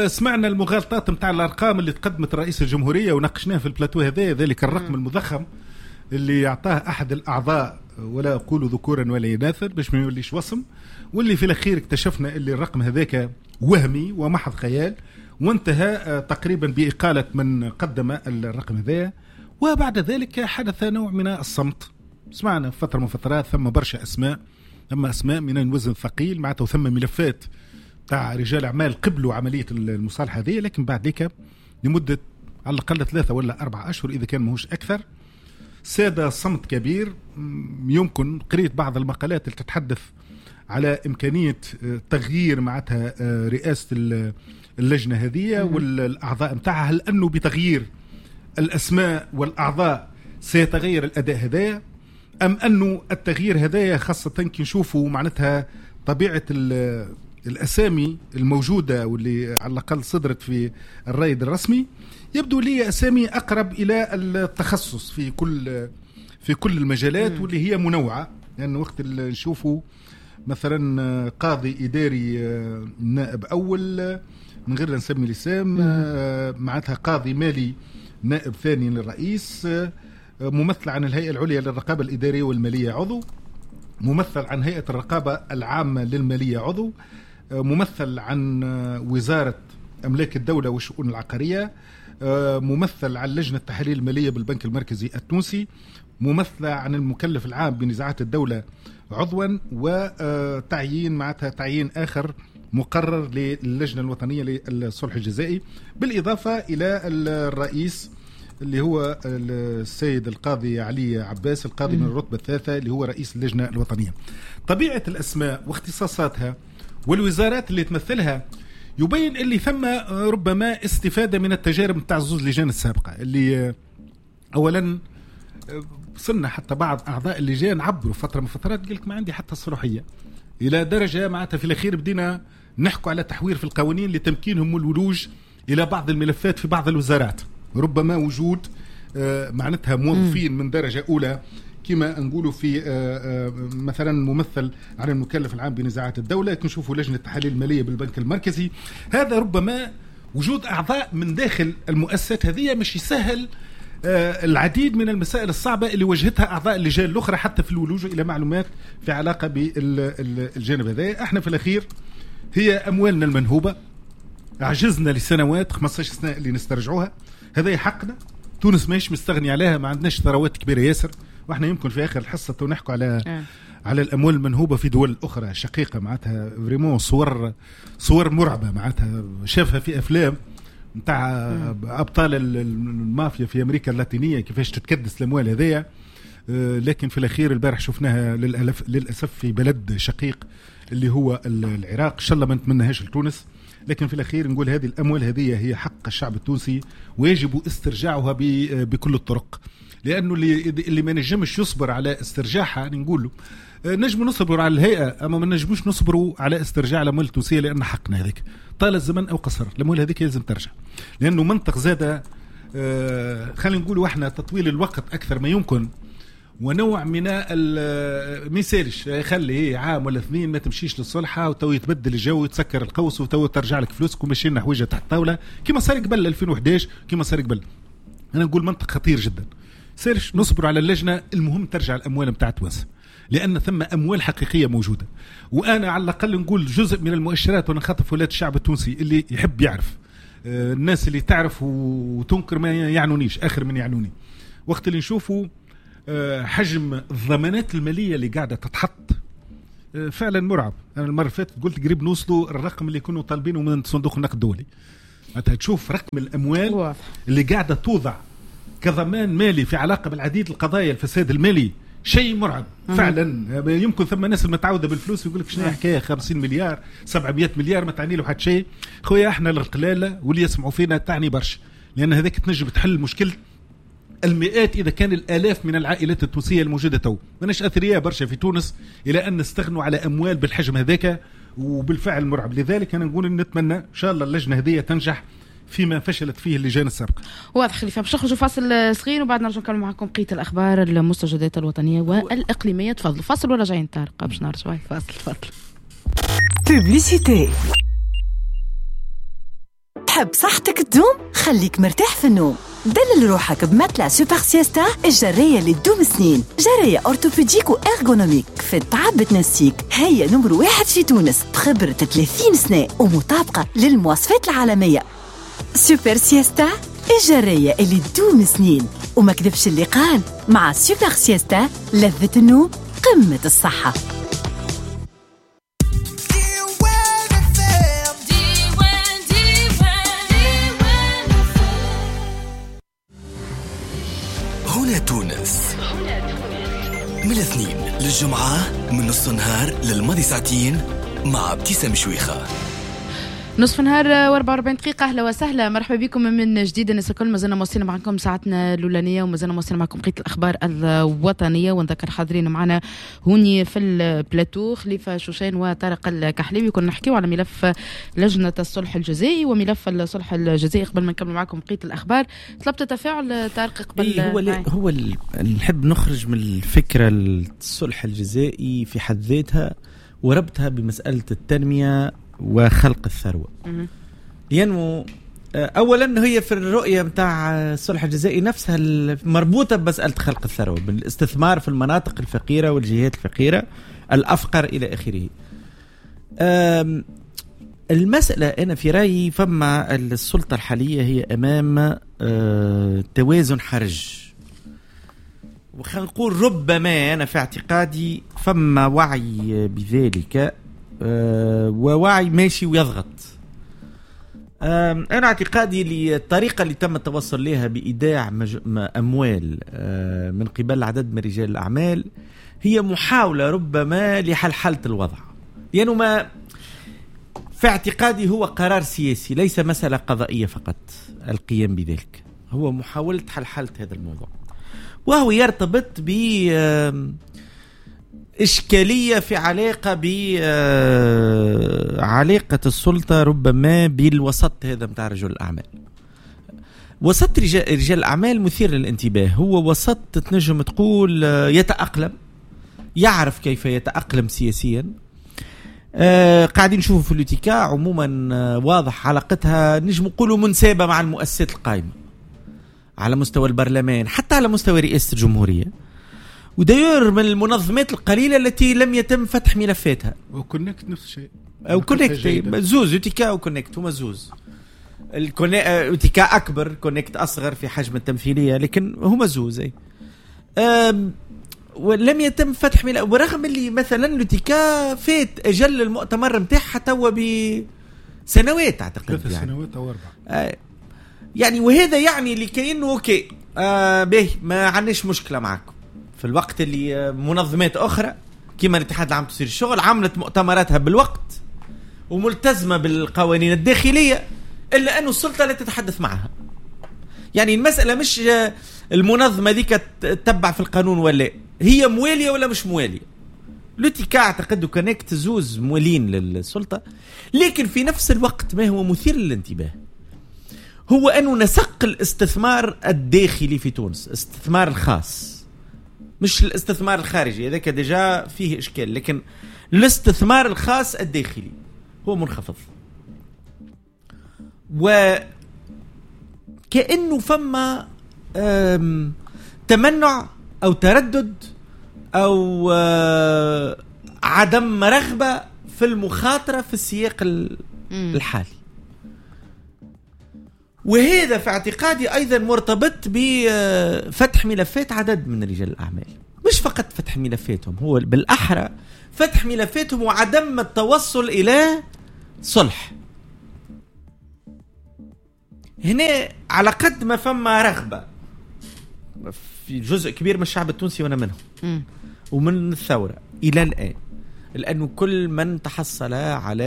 سمعنا المغالطات متاع الأرقام اللي تقدمت رئيس الجمهورية وناقشناها في البلاتو هذا، ذلك الرقم المضخم اللي يعطاه أحد الأعضاء، ولا أقول ذكورا ولا إناثا باش ما يوليش وصم، واللي في الأخير اكتشفنا اللي الرقم هذاك وهمي ومحض خيال، وانتهى تقريبا بإقالة من قدم الرقم هذا. وبعد ذلك حدث نوع من الصمت، سمعنا فترة من فترات ثم برشا أسماء، ثم أسماء من الوزن الثقيل معناته، ثم ملفات تاع رجال أعمال قبلوا عملية المصالحة هذه، لكن بعد ذلك لمدة على الأقل 3 ولا 4 أشهر إذا كان ماهوش أكثر ساد صمت كبير. يمكن قريت بعض المقالات اللي تتحدث على إمكانية تغيير معناتها رئاسة اللجنة هذه والأعضاء متاعها، هل أنه بتغيير الأسماء والأعضاء سيتغير الأداء هذايا، أم أنه التغيير هذايا خاصة كي نشوفوا معناتها طبيعة الأسامي الموجودة واللي على الأقل صدرت في الرائد الرسمي، يبدو لي أسامي أقرب إلى التخصص في كل المجالات واللي هي منوعة. لأن وقت اللي نشوفوا مثلا قاضي إداري نائب أول من غير نسمي لسام، معناتها قاضي مالي نائب ثاني للرئيس، ممثل عن الهيئة العليا للرقابة الإدارية والمالية عضو، ممثل عن هيئة الرقابة العامة للمالية عضو، ممثل عن وزارة أملاك الدولة والشؤون العقارية، ممثل عن لجنة التحاليل المالية بالبنك المركزي التونسي، ممثلة عن المكلف العام بنزاعات الدولة عضوا، وتعيين معناتها تعيين آخر مقرر للجنة الوطنية للصلح الجزائي، بالإضافة إلى الرئيس اللي هو السيد القاضي علي عباس القاضي من الرتبة الثالثة اللي هو رئيس اللجنة الوطنية. طبيعة الأسماء واختصاصاتها والوزارات اللي تمثلها يبين اللي ثم ربما استفادة من التجارب نتاع زوز لجان السابقة، اللي أولا وصلنا حتى بعض أعضاء اللجان عبروا فترة من فترات قال لك ما عندي حتى الصلاحية، إلى درجة معناتها في الأخير بدينا نحكوا على تحوير في القوانين لتمكينهم من الولوج إلى بعض الملفات في بعض الوزارات، ربما وجود معناتها موظفين من درجة أولى كما نقولوا في مثلا ممثل عن المكلف العام بنزاعات الدولة، نشوفوا لجنة التحاليل المالية بالبنك المركزي. هذا ربما وجود أعضاء من داخل المؤسسات هذه مش يسهل العديد من المسائل الصعبة اللي واجهتها أعضاء اللجان الأخرى حتى في الولوج إلى معلومات في علاقة بالجانب هذا. احنا في الأخير هي أموالنا المنهوبة، عجزنا لسنوات 15 سنة اللي نسترجعوها، هذا حقنا، تونس ماهيش مستغني عليها، ما عندناش ثروات كبيرة ياسر، واحنا يمكن في آخر الحصة نحكوا على الأموال المنهوبة في دول أخرى شقيقة، معناتها vraiment صور مرعبة، معناتها شافها في أفلام نتاع أبطال المافيا في أمريكا اللاتينية كيفاش تتكدس الأموال هذيا. لكن في الأخير البارح شفناها للأسف في بلد شقيق اللي هو العراق، إن شاء الله ما نتمناهاش لتونس، لكن في الأخير نقول هذه الأموال هذه هي حق الشعب التونسي ويجب استرجاعها بكل الطرق، لأنه اللي ما نجمش يصبر على استرجاعها نقول له نجم نصبر على الهيئة، أما ما نجموش نصبروا على استرجاع الأموال التونسية، لأن حقنا هذيك طال الزمن أو قصر الأموال هذيك لازم ترجع، لأنه منطق زاد خلينا نقولوا احنا تطويل الوقت أكثر ما يمكن ونوع من ما يسالش، خلي عام ولا اثنين ما تمشيش للصلحة وتو يتبدل الجو ويتسكر القوس وتو ترجع لك فلوسك ومشي لنا حويجة تحت الطاولة كما صار قبل 2011، كما صار قبل. أنا نقول منطق خطير جدا، سيرش نصبر على اللجنة، المهم ترجع الاموال نتاع تونس، لان ثم اموال حقيقية موجودة. وانا على الاقل نقول جزء من المؤشرات، ونخاطب ولاد الشعب التونسي اللي يحب يعرف، الناس اللي تعرف وتنكر ما يعنونيش، اخر من يعنوني. وقت اللي نشوفوا حجم الضمانات المالية اللي قاعدة تتحط فعلا مرعب. انا المرة اللي فاتت قلت قريب نوصلوا الرقم اللي كنا طالبينه من صندوق النقد الدولي. معناتها تشوف رقم الاموال اللي قاعدة توضع كضمان مالي في علاقة بالعديد القضايا الفساد المالي، شيء مرعب فعلا. يمكن ثم ناس المتعوده بالفلوس يقول لك شنو حكاية 50 مليار 700 مليار ما تعني له حتى شيء. خويا احنا القلاله واللي يسمعوا فينا تعني برشا، لان هذاك تنجم تحل مشكلة المئات اذا كان الالاف من العائلات التونسية الموجودة تو. ماناش اثرياء برشا في تونس الى ان نستغنوا على اموال بالحجم هذاك، وبالفعل مرعب. لذلك انا نقول نتمنى ان شاء الله اللجنة هذه تنجح فيما فشلت فيه اللجان السابقة. واضح خليفة، باش نخرجوا فاصل صغير وبعد نرجع نكمل معكم بقية الاخبار المستجدات الوطنية والاقليميه. تفضلوا فاصل ولا جايين طارق باش نرجعوا؟ فاصل تفضل. publicité. تحب صحتك تدوم؟ خليك مرتاح في النوم. دلل روحك ب matelas Super Siesta، الجرية اللي تدوم سنين، جرية orthopédique و ergonomique في التعب تنسيك. هي نمر 1 في تونس بخبرة 30 سنة ومطابقة للمواصفات العالمية. Super Siesta، الجرية اللي تدوم سنين. وما كذبش اللي قال، مع Super Siesta لذة النوم قمة الصحة. هنا تونس من الاثنين للجمعة من نص النهار للماضي ساعتين مع ابتسام شويخة. نصف نهار و44 دقيقة. أهلا وسهلا، مرحبا بكم من جديد الناس الكل. مازلنا مواصلين معكم ساعتنا الأولانية ومازلنا مواصلين معكم بقية الأخبار الوطنية، ونذكر حاضرين معنا هوني في البلاتو خليفة شوشان وطارق الكحليوي. كنا نحكيو على ملف لجنة الصلح الجزائي وملف الصلح الجزائي. قبل ما نكمل معكم بقية الأخبار طلبت تفاعل طارق قبل. هو نحب نخرج من الفكرة الصلح الجزائي في حد ذاتها وربطها بمسألة التنمية وخلق الثروة. لأنه أولا هي في الرؤية متاع الصلح الجزائي نفسها مربوطة بمسألة خلق الثروة بالاستثمار في المناطق الفقيرة والجهات الفقيرة الأفقر إلى آخره. المسألة أنا في رأيي فما السلطة الحالية هي أمام توازن حرج، وخلينا نقول ربما أنا في اعتقادي فما وعي بذلك، ووعي ماشي ويضغط. أنا اعتقادي للطريقة اللي تم التوصل لها بإيداع أموال من قبل عدد من رجال الأعمال هي محاولة ربما لحلحلة الوضع، لأنه ما في اعتقادي هو قرار سياسي ليس مسألة قضائية فقط. القيام بذلك هو محاولة حلحلة هذا الموضوع، وهو يرتبط ب إشكالية في علاقة بعلاقة السلطة ربما بالوسط هذا متاع رجل الأعمال. وسط رجال الأعمال مثير للانتباه، هو وسط تنجم تقول يتأقلم، يعرف كيف يتأقلم سياسيا. قاعدين نشوفوا في l'UTICA عموما واضح علاقتها نجم نقولوا منسابة مع المؤسسات القائمة على مستوى البرلمان، حتى على مستوى رئاسة الجمهورية. و d'ailleurs من المنظمات القليلة التي لم يتم فتح ملفاتها. و CONECT نفس الشيء. أو CONECT زوز، UTICA و CONECT هما زوز. UTICA أكبر، CONECT أصغر في حجم التمثيلية، لكن هما زوز. ولم يتم فتح ملف، ورغم اللي مثلا l'UTICA فات أجل المؤتمر متاعها توا بسنوات أعتقد، 3 يعني سنوات أو 4 يعني. وهذا يعني اللي كأنه OK به ما عندناش مشكلة معكم. في الوقت اللي منظمات أخرى كما الاتحاد العام لتسيير الشغل عملت مؤتمراتها بالوقت وملتزمة بالقوانين الداخلية، إلا أن السلطة لا تتحدث معها. يعني المسألة مش المنظمة ذيك تتبع في القانون ولا هي موالية ولا مش موالية. l'UTICA أعتقد CONECT زوز موالين للسلطة، لكن في نفس الوقت ما هو مثير للانتباه هو أنه نسق الاستثمار الداخلي في تونس، استثمار الخاص مش الاستثمار الخارجي، هذاك déjà فيه إشكال، لكن الاستثمار الخاص الداخلي هو منخفض، وكأنه فما تمنع أو تردد أو عدم رغبة في المخاطرة في السياق الحالي. وهذا في اعتقادي أيضا مرتبط بفتح ملفات عدد من رجال الأعمال، مش فقط فتح ملفاتهم، هو بالأحرى فتح ملفاتهم وعدم التوصل إلى صلح. هنا على قد ما فما رغبة في جزء كبير من الشعب التونسي وأنا منهم ومن الثورة إلى الآن، لأنه كل من تحصل على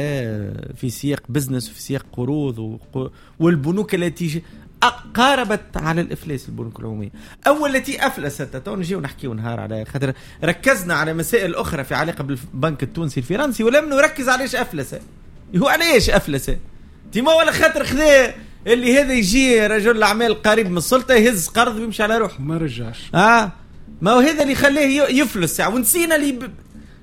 في سياق بزنس وفي سياق قروض والبنوك التي قاربت على الإفلاس، البنوك العمومية أو التي أفلست، تو نجيو نحكيو نهار على خاطر ركزنا على مسائل أخرى في علاقة بالبنك التونسي الفرنسي ولم نركز علاش أفلس. هو علاش أفلس؟ تيما ولا خاطر خذا اللي هذا يجي رجل الأعمال قريب من السلطة يهز قرض ويمشي على روحه ما رجعش. ما هو هذا اللي خلاه يفلس يعني. ونسينا اللي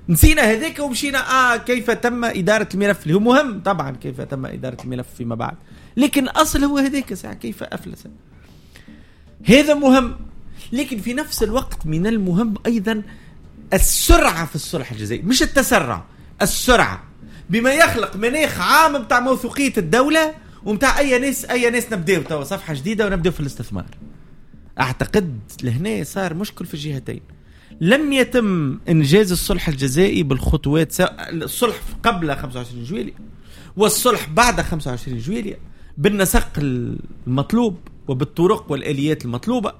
نسينا هذاك ومشينا كيف تم إدارة الملف اللي هو مهم طبعا، كيف تم إدارة الملف فيما بعد، لكن الأصل هو هذاك ساعة كيف أفلس. هذا مهم، لكن في نفس الوقت من المهم أيضا السرعة في الصلح الجزائي، مش التسرع، السرعة بما يخلق مناخ عام متاع موثوقية الدولة ومتاع أي ناس نبدأ توا صفحة جديدة ونبدأ في الاستثمار. أعتقد لهنا صار مشكل في الجهتين، لم يتم إنجاز الصلح الجزائي بالخطوات، الصلح قبل 25 جويلية والصلح بعد 25 جويلية بالنسق المطلوب وبالطرق والآليات المطلوبة.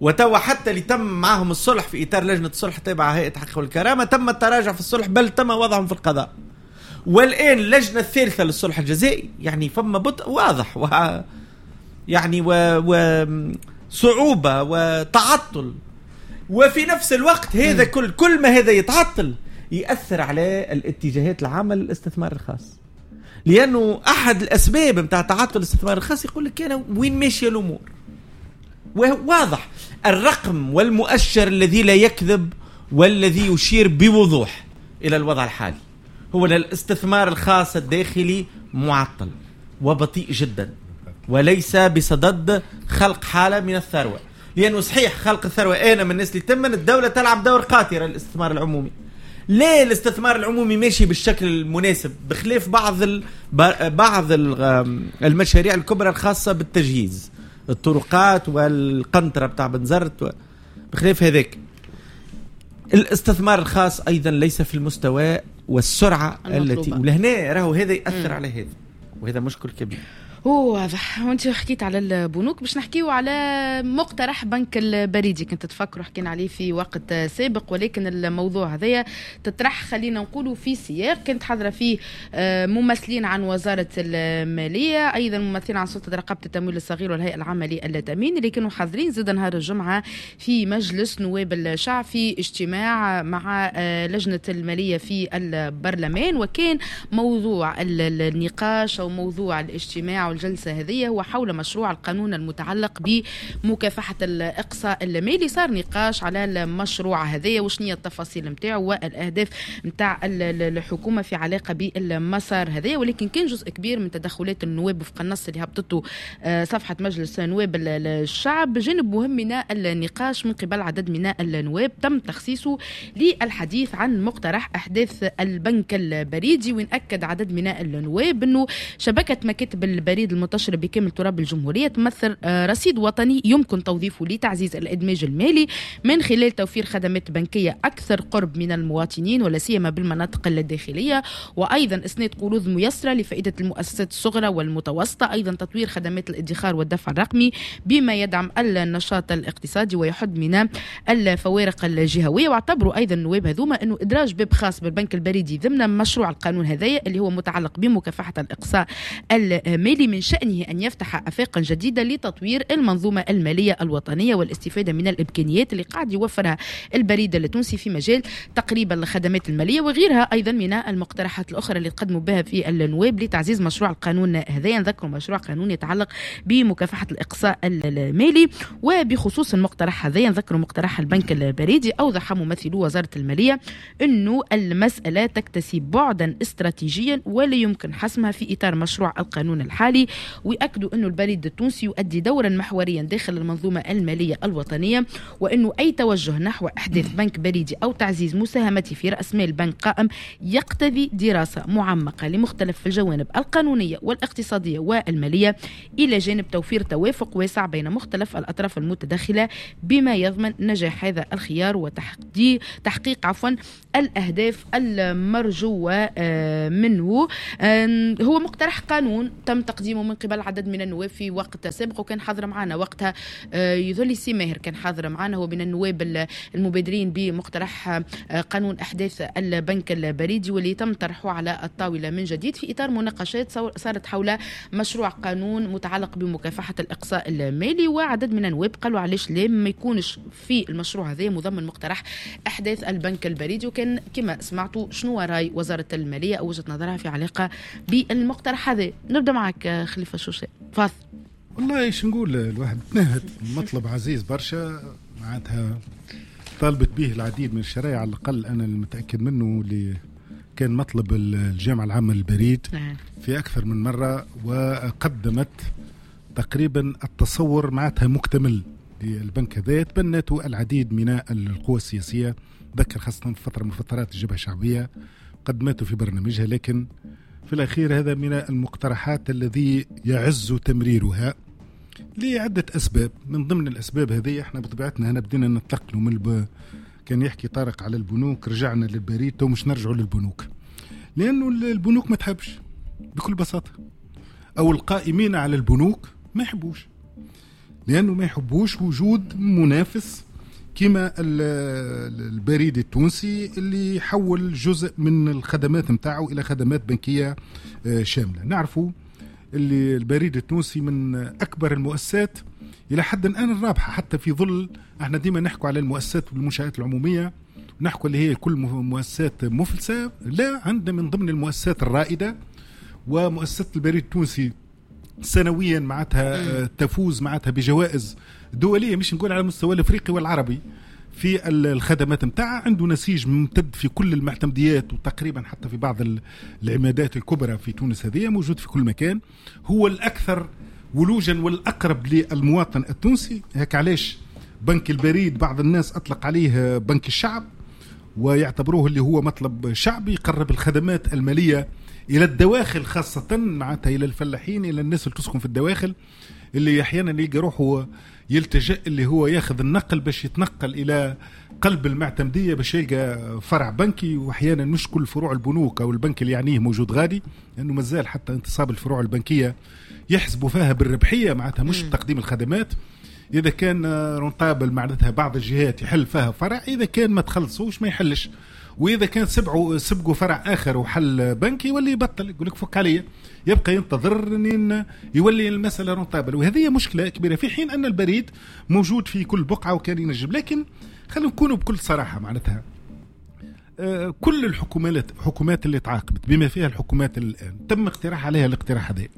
وتوا حتى اللي تم معهم الصلح في إطار لجنة الصلح تابعة هيئة الحق والكرامة تم التراجع في الصلح، بل تم وضعهم في القضاء. والآن اللجنة الثالثة للصلح الجزائي يعني فما بطء واضح يعني وصعوبة وتعطل، وفي نفس الوقت هذا كل ما هذا يتعطل يأثر على الاتجاهات العامة للاستثمار الخاص، لأنه أحد الأسباب متاع تعطل الاستثمار الخاص يقول لك أنا وين ماشية الأمور. وواضح الرقم والمؤشر الذي لا يكذب والذي يشير بوضوح إلى الوضع الحالي هو أن الاستثمار الخاص الداخلي معطل وبطيء جدا وليس بصدد خلق حالة من الثروة. لأنه صحيح خلق الثروة، أنا من الناس اللي تمن الدولة تلعب دور قاتل للاستثمار العمومي. ليه الاستثمار العمومي ماشي بالشكل المناسب بخلاف بعض المشاريع الكبرى الخاصة بالتجهيز، الطرقات والقنطرة بتاع بنزرت، بخلاف هذاك الاستثمار الخاص أيضا ليس في المستوى والسرعة التي، ولهنا راهو هذا يأثر على هذا، وهذا مشكل كبير. واضح. وانت حكيت على البنوك، باش نحكيو على مقترح بنك البريدي، كنت تفكروا حكينا عليه في وقت سابق، ولكن الموضوع هذايا تطرح خلينا نقولوا في سياق كانت حاضره فيه ممثلين عن وزارة المالية، ايضا ممثلين عن سلطة رقابه التمويل الصغير والهيئة العامة للتامين، اللي كانوا حاضرين زاد نهار الجمعة في مجلس نواب الشعب في اجتماع مع لجنة المالية في البرلمان. وكان موضوع النقاش او موضوع الاجتماع الجلسة هذه هو حول مشروع القانون المتعلق بمكافحة الإقصاء المالي. صار نقاش على المشروع هذا وشنية هي التفاصيل متاعه والأهداف متاع الحكومة في علاقة بالمسار هذا، ولكن كان جزء كبير من تدخلات النواب وفق النص اللي هبطته صفحة مجلس نواب الشعب. جانب مهم من النقاش من قبل عدد من النواب تم تخصيصه للحديث عن مقترح أحداث البنك البريدي، وين أكد عدد من النواب أنه شبكة مكاتب البريد المنتشرة بكامل تراب الجمهورية تمثل رصيد وطني يمكن توظيفه لتعزيز الإدماج المالي من خلال توفير خدمات بنكية أكثر قرب من المواطنين ولا سيما بالمناطق الداخلية، وأيضا إسناد قروض ميسرة لفائدة المؤسسات الصغرى والمتوسطة، أيضا تطوير خدمات الادخار والدفع الرقمي بما يدعم النشاط الاقتصادي ويحد من الفوارق الجهوية. واعتبروا أيضا النواب هذوما أنه إدراج باب خاص بالبنك البريدي ضمن مشروع القانون هذايا اللي هو متعلق بمكافحة الإقصاء المالي من شأنه أن يفتح آفاقا جديدة لتطوير المنظومة المالية الوطنية والاستفادة من الإمكانيات اللي قاعد يوفرها البريد التونسي في مجال تقريب الخدمات المالية وغيرها أيضا من المقترحات الأخرى اللي تقدموا بها في النواب لتعزيز مشروع القانون هذا. نذكر مشروع قانون يتعلق بمكافحة الإقصاء المالي. وبخصوص المقترح هذا نذكر مقترح البنك البريدي، أوضح ممثلو وزارة المالية أنه المسألة تكتسي بعدا استراتيجيا ولا يمكن حسمها في إطار مشروع القانون الحالي، المالي، ويأكدوا أنه البريد التونسي يؤدي دورا محوريا داخل المنظومة المالية الوطنية، وأنه أي توجه نحو إحداث بنك بريدي أو تعزيز مساهمته في رأس مال بنك قائم يقتضي دراسة معمقة لمختلف الجوانب القانونية والاقتصادية والمالية، إلى جانب توفير توافق واسع بين مختلف الأطراف المتدخلة بما يضمن نجاح هذا الخيار وتحقيق الأهداف المرجوة منه. هو مقترح قانون تم تقديمه من قبل عدد من النواب في وقت سابق، وكان حاضر معنا وقتها يظل سي ماهر كان حاضر معنا، هو من النواب المبادرين بمقترح قانون أحداث البنك البريدي، واللي تم طرحه على الطاولة من جديد في إطار مناقشات صارت حول مشروع قانون متعلق بمكافحة الإقصاء المالي. وعدد من النواب قالوا علاش لا ما يكونش في المشروع هذا مضمن مقترح أحداث البنك البريدي. وكان كما سمعتوا شنو رأي وزارة المالية أو وجهة نظرها في علاقة بالمقترح هذا. نبدأ معك خليفة شوشة، تفضل. والله ايش نقول، الواحد تنهد، مطلب عزيز برشا معناتها طالبت به العديد من الشرائع، على الأقل أنا المتأكد منه اللي كان مطلب الجامعة العامة للبريد في أكثر من مرة، وقدمت تقريبا التصور معناتها مكتمل للبنك هذا، تبنته العديد من القوى السياسية، ذكر خاصة في فترة من فترات الجبهة الشعبية قدمته في برنامجها، لكن في الأخير هذا من المقترحات الذي يعز تمريرها لعدة أسباب. من ضمن الأسباب هذه احنا بطبيعتنا هنا بدينا نتنقلوا من كان يحكي طارق على البنوك، رجعنا للبريد، تو مش نرجعوا للبنوك، لأنه البنوك ما تحبش بكل بساطة، أو القائمين على البنوك ما يحبوش، لأنه ما يحبوش وجود منافس كما البريد التونسي اللي يحول جزء من الخدمات متاعه إلى خدمات بنكية شاملة. نعرفوا اللي البريد التونسي من أكبر المؤسسات إلى حد الآن الرابحة، حتى في ظل احنا ديما نحكوا على المؤسسات والمنشآت العمومية، نحكوا اللي هي كل مؤسسات مفلسة، لا، عندنا من ضمن المؤسسات الرائدة، ومؤسسة البريد التونسي سنويا معناتها تفوز معناتها بجوائز دولية، مش نقول على المستوى الافريقي والعربي في الخدمات متاعها. عنده نسيج ممتد في كل المعتمديات، وتقريبا حتى في بعض العمادات الكبرى في تونس هذه موجود في كل مكان. هو الأكثر ولوجا والأقرب للمواطن التونسي. هيك علاش بنك البريد بعض الناس أطلق عليه بنك الشعب، ويعتبروه اللي هو مطلب شعبي، يقرب الخدمات المالية إلى الدواخل، خاصة معناتها إلى الفلاحين، إلى الناس اللي تسكن في الدواخل، اللي أحيانا يلقى روحه يلتجئ اللي هو ياخذ النقل باش يتنقل إلى قلب المعتمدية باش يلقى فرع بنكي. وأحيانا مش كل فروع البنوك أو البنك اللي يعنيه موجود غادي، لأنه مازال حتى انتصاب الفروع البنكية يحسبوا فيها بالربحية، معناتها مش بتقديم الخدمات. إذا كان rentable معناتها بعض الجهات يحل فيها فرع، إذا كان ما تخلصوش ما يحلش، وإذا كان سبقوا فرع آخر وحل بنكي يولي يبطل، يقول لك فك عليا، يبقى ينتظر إن يولي المسألة rentable. وهذه مشكلة كبيرة، في حين أن البريد موجود في كل بقعة وكان ينجم. لكن خلينا نكونوا بكل صراحة معناتها كل الحكومات اللي تعاقبت بما فيها الحكومات الآن تم اقتراح عليها الاقتراح هذا،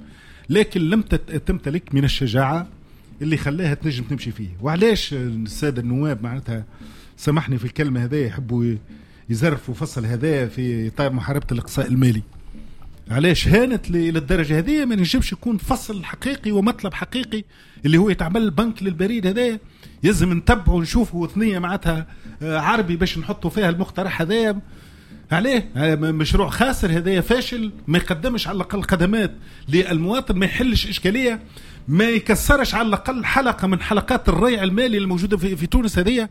لكن لم تمتلك من الشجاعة اللي خلاها تنجم تمشي فيه. وعلاش السادة النواب معناتها سامحني في الكلمة هذا يحبوا يزرفوا فصل هذا في إطار محاربة الإقصاء المالي؟ علاش هانت للدرجة هذه؟ ما نجمش يكون فصل حقيقي ومطلب حقيقي اللي هو يتعمل بنك للبريد هذا، يلزم نتبعه ونشوفه ثنية معناتها عربي باش نحطوا فيها المقترح هذا. عليه مشروع خاسر هذا، فاشل، ما يقدمش على الأقل خدمات للمواطن، ما يحلش إشكالية، ما يكسرش على الأقل حلقة من حلقات الريع المالي الموجودة في تونس هذه،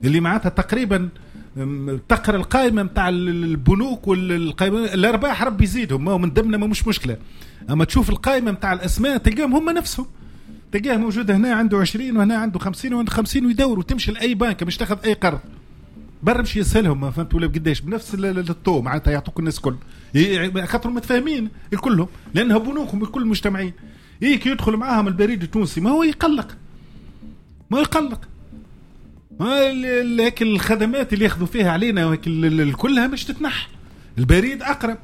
اللي معناتها تقريبا تقرا القائمة متاع البنوك والقائمة الأرباح ربي يزيدهم، ما هو من ضمننا ما مش مشكلة، أما تشوف القائمة متاع الأسماء تلقاهم هم نفسهم، تلقاه موجود هنا عنده 20 وهنا عنده 50 وعنده 50 ويدور، وتمشي لأي بنك مش تاخذ أي قرض برا مش يسألهم ما فهمت ولا بقداش بنفس الطو معناتها يعطوك الناس كل، خاطر متفاهمين الكلهم لأنها بنوكهم الكل مجتمعين. إيه كي يدخل معاهم البريد التونسي ما هو يقلق، ما يقلق، ما لكن الخدمات اللي ياخذوا فيها علينا كلها مش تتنح. البريد أقرب،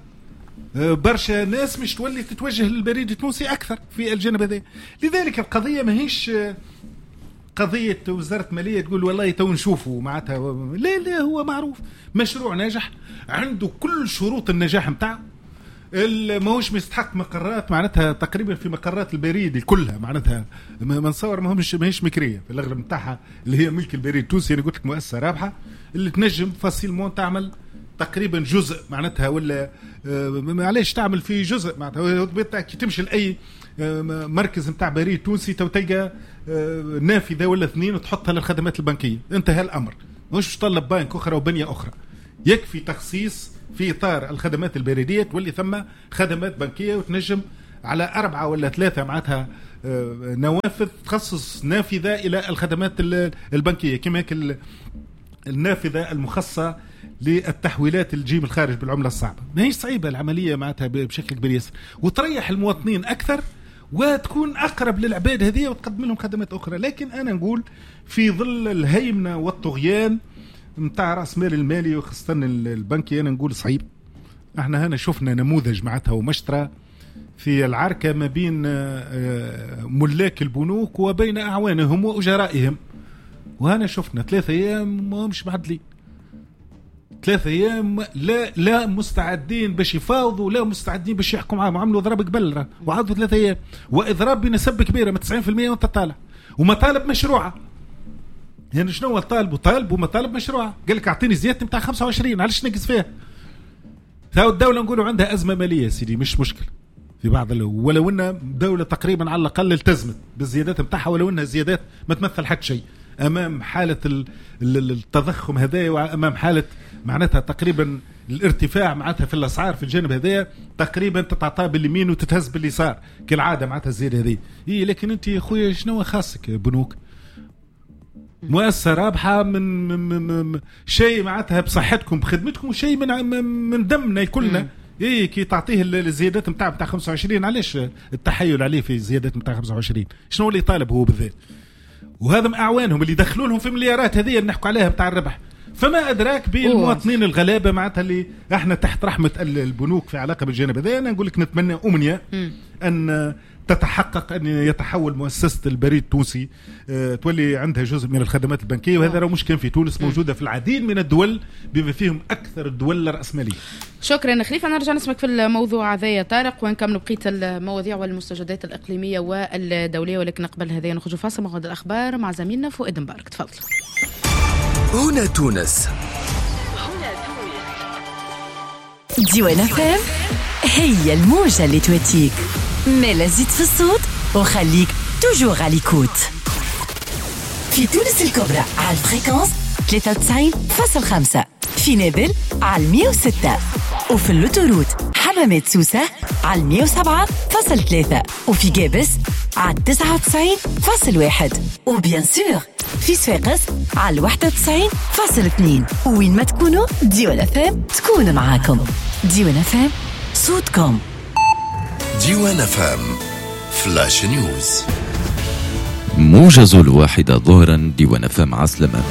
برشا ناس مش تولي تتوجه للبريد التونسي أكثر في الجانب هذا. لذلك القضية ماهيش قضية وزارة مالية تقول والله تو نشوفوا معناتها، لا لا، هو معروف مشروع ناجح عنده كل شروط النجاح متاعه. ماهوش مستحق مقرات معناتها تقريبا في مقرات البريد كلها معناتها ما نصور ماهيش مكريه في الاغلب نتاعها اللي هي ملك البريد التونسي. انا قلت لك مؤسسة رابحه اللي تنجم facilement تعمل تقريبا جزء معناتها، ولا معليش تعمل فيه جزء معناتها. كي تمشي لاي مركز نتاع بريد تونسي تو تلقى نافذة ولا اثنين وتحطها للخدمات البنكية، انتهى الامر. مش تطلب بنك اخرى وبنيه اخرى، يكفي تخصيص في اطار الخدمات البريدية تولي ثم خدمات بنكيه، وتنجم على 4 ولا 3 معناتها نوافذ تخصص نافذة الى الخدمات البنكية، كما هيك النافذة المخصصة للتحويلات اللي تجي من الخارج بالعملة الصعبة. ماهيش صعيبة العملية معناتها بشكل كبير ياسر، وتريح المواطنين اكثر وتكون اقرب للعباد هذه وتقدم لهم خدمات اخرى. لكن انا نقول في ظل الهيمنة والطغيان نتاع راس مال المالي وخاصة البنكي، انا نقول صعيب. احنا هنا شفنا نموذج معناتها ومشترى في العركه ما بين ملاك البنوك وبين اعوانهم واجرائهم، وهنا شفنا 3 ايام ما همش معدلين، 3 ايام لا مستعدين باش يفاوضوا، لا مستعدين باش يحكوا معاهم. عملوا اضراب قبل وعادوا 3 ايام، واضراب بنسب كبيرة من 90% وانت طالع، ومطالب مشروعه. يعني شنو طالبوا؟ طالبوا مطالب مشروعه، قال لك اعطيني زيادة نتاع 25، علاش نقص فيها؟ ثاو الدولة نقولوا عندها ازمة ماليه سيدي، مش مشكلة في بعض، ولو ان دولة تقريبا على الاقل التزمت بالزيادات نتاعها، ولو انها زيادات ما تمثل حتى شيء امام حاله التضخم هذايا، وامام حاله معناتها تقريبا الارتفاع معناتها في الاسعار في الجانب هذايا، تقريبا تتعطى باليمين وتتهز باليسار كالعادة معناتها الزيادة هذه. إيه لكن انت يا خويا شنو خاصك بنوك؟ مؤسسة رابحه من شيء معناتها بصحتكم بخدمتكم، وشيء من دمنا كلنا. ايه كي تعطيه الزيادات نتاع 25، علاش التحايل عليه في الزيادات نتاع 25؟ شنو اللي طالب هو بالذات؟ وهذا من اعوانهم اللي دخلوا لهم في مليارات هذه اللي نحكوا عليها بتاع الربح. فما ادراك بالمواطنين الغلابة معناتها اللي احنا تحت رحمه البنوك في علاقة بالجانب هذا. انا نقول لك نتمنى امنية ان تتحقق، ان يتحول مؤسسة البريد التونسي تولي عندها جزء من الخدمات البنكية، وهذا راه مش كان في تونس، موجودة في العديد من الدول بما فيهم اكثر الدول الراسمالية. شكرا خليفة، نرجع نسمك في الموضوع هذا يا طارق ونكملوا بقية المواضيع والمستجدات الاقليمية والدولية، ولكن قبل هذا نخرج فاصل موعد الاخبار مع زميلنا فؤاد مبارك. تفضل. هنا تونس، ديوان FM هي الموجة اللي تواتيك، مالا زيد في الصوت وخليك toujours à l'écoute. في تونس الكبرى على ال fréquence 93.5، في نابل على 106، وفي l'autoroute حمامات سوسة على 107.3، وفي جابس على 99.1، و bien sûr في صفاقس على 91.2. وين ما تكونوا ديوان FM تكون معاكم. ديوان FM صوتكم. ديوان FM flash news، موجز 1 ظهرا. ديوان FM عسلامة.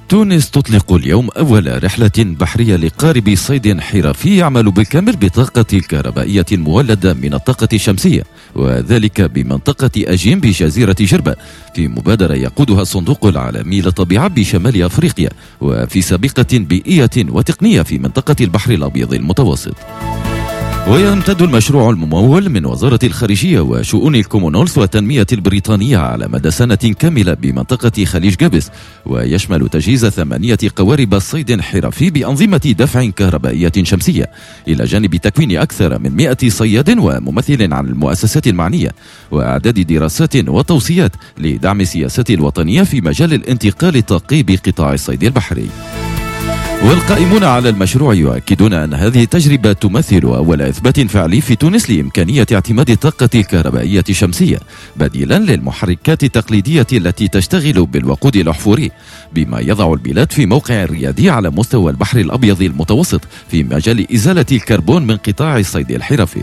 تونس تطلق اليوم أول رحلة بحرية لقارب صيد حرفي يعمل بالكامل بطاقة الكهربائية المولدة من الطاقة الشمسية، وذلك بمنطقة أجيم بجزيرة جربة، في مبادرة يقودها الصندوق العالمي للطبيعة بشمال أفريقيا، وفي سابقة بيئية وتقنية في منطقة البحر الأبيض المتوسط. ويمتد المشروع الممول من وزارة الخارجية وشؤون الكومنولث والتنمية البريطانية على مدى سنة كاملة بمنطقة خليج جابس، ويشمل تجهيز 8 قوارب صيد حرفي بأنظمة دفع كهربائية شمسية، إلى جانب تكوين أكثر من 100 صياد وممثل عن المؤسسات المعنية، وإعداد دراسات وتوصيات لدعم السياسات الوطنية في مجال الانتقال الطاقي بقطاع الصيد البحري. والقائمون على المشروع يؤكدون أن هذه التجربة تمثل أول إثبات فعلي في تونس لإمكانية اعتماد الطاقة الكهربائية الشمسية بديلا للمحركات التقليدية التي تشتغل بالوقود الأحفوري، بما يضع البلاد في موقع ريادي على مستوى البحر الأبيض المتوسط في مجال إزالة الكربون من قطاع الصيد الحرفي.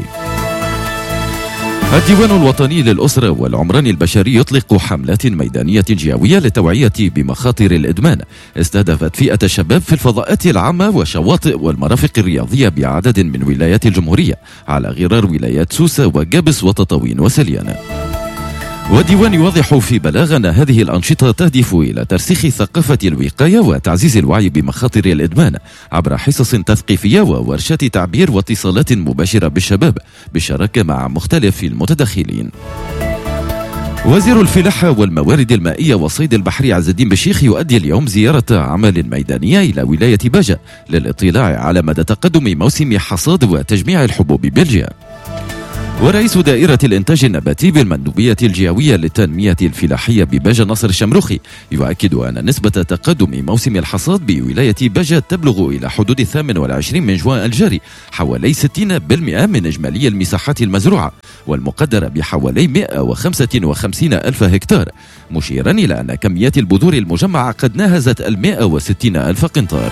الديوان الوطني للأسرة والعمران البشري يطلق حملات ميدانية جهوية للتوعية بمخاطر الإدمان استهدفت فئة الشباب في الفضاءات العامة والشواطئ والمرافق الرياضية بعدد من ولايات الجمهورية على غرار ولايات سوسة وجابس وتطاوين وسليانة. والديوان يوضح في بلاغ أن هذه الأنشطة تهدف إلى ترسيخ ثقافة الوقاية وتعزيز الوعي بمخاطر الإدمان عبر حصص تثقيفية وورشات تعبير واتصالات مباشرة بالشباب بالشراكة مع مختلف المتدخلين. وزير الفلاحة والموارد المائية والصيد البحري عز الدين بشيخ يؤدي اليوم زيارة عمل ميدانية إلى ولاية باجة للاطلاع على مدى تقدم موسم حصاد وتجميع الحبوب بالجهة. ورئيس دائرة الإنتاج النباتي بالمندوبية الجهوية للتنمية الفلاحية بباجة ناصر الشمروخي يؤكد أن نسبة تقدم موسم الحصاد بولاية باجة تبلغ إلى حدود 28 من جوان الجاري حوالي 60% من إجمالي المساحات المزروعة والمقدرة بحوالي 155 ألف هكتار، مشيرا إلى أن كميات البذور المجمعة قد ناهزت 160 ألف قنطار.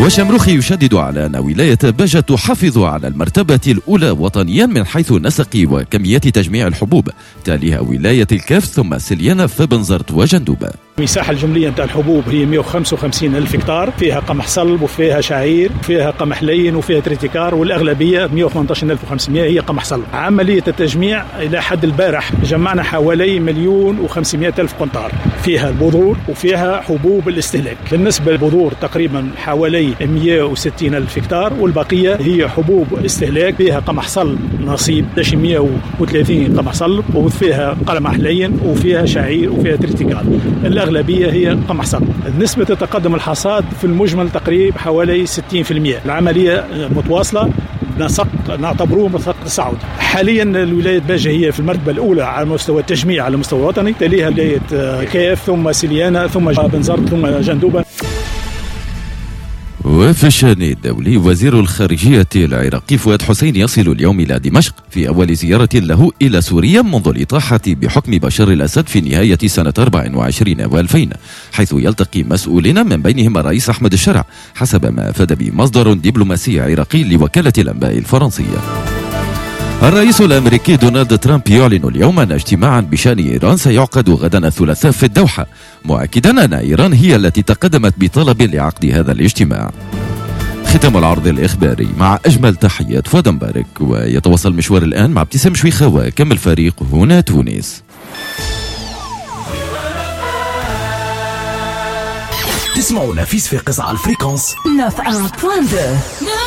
وشمروخي يشدد على أن ولاية باجة تحافظ على المرتبة الأولى وطنيا من حيث نسق وكميات تجميع الحبوب، تاليها ولاية الكاف ثم سليانة فبنزرت وجندوبة. المساحة الجملية نتاع الحبوب هي 155 ألف هكتار، فيها قمح صلب وفيها شعير وفيها قمح لين وفيها تريتيكار، والأغلبية 118500 هي قمح صلب. عملية التجميع إلى حد البارح جمعنا حوالي 1,500,000 قنطار، فيها البذور وفيها حبوب الاستهلاك. بالنسبة للبذور تقريبا حوالي 160 ألف هكتار، والبقية هي حبوب استهلاك، فيها قمح صلب نصيب 130 قمح صلب، وفيها قمح لين وفيها شعير وفيها تريتيكال. الأغلبية هي قمح صلب. نسبة تقدم الحصاد في المجمل تقريبا حوالي 60%. العملية متواصلة، نسق نعتبروه نسق تصاعدي. حاليا الولاية باجة هي في المرتبة الأولى على مستوى التجميع على المستوى الوطني، تليها ولاية كيف ثم سليانة ثم بنزرت ثم جندوبة. وفي الشأن الدولي، وزير الخارجية العراقي فؤاد حسين يصل اليوم إلى دمشق في أول زيارة له إلى سوريا منذ الإطاحة بحكم بشار الأسد في نهاية سنة 24 و2000، حيث يلتقي مسؤولين من بينهم الرئيس أحمد الشرع حسب ما أفاد به مصدر دبلوماسي عراقي لوكالة الأنباء الفرنسية. الرئيس الأمريكي دونالد ترامب يعلن اليوم أن اجتماعا بشأن إيران سيعقد غدا الثلاثاء في الدوحة، مؤكدا أن إيران هي التي تقدمت بطلب لعقد هذا الاجتماع. ختام العرض الإخباري مع أجمل تحيات فؤاد مبارك، ويتواصل مشوار الآن مع ابتسام شويخة وكمل فريق هنا تونس. تسمعونا في صفاقس على ال fréquence 91.2.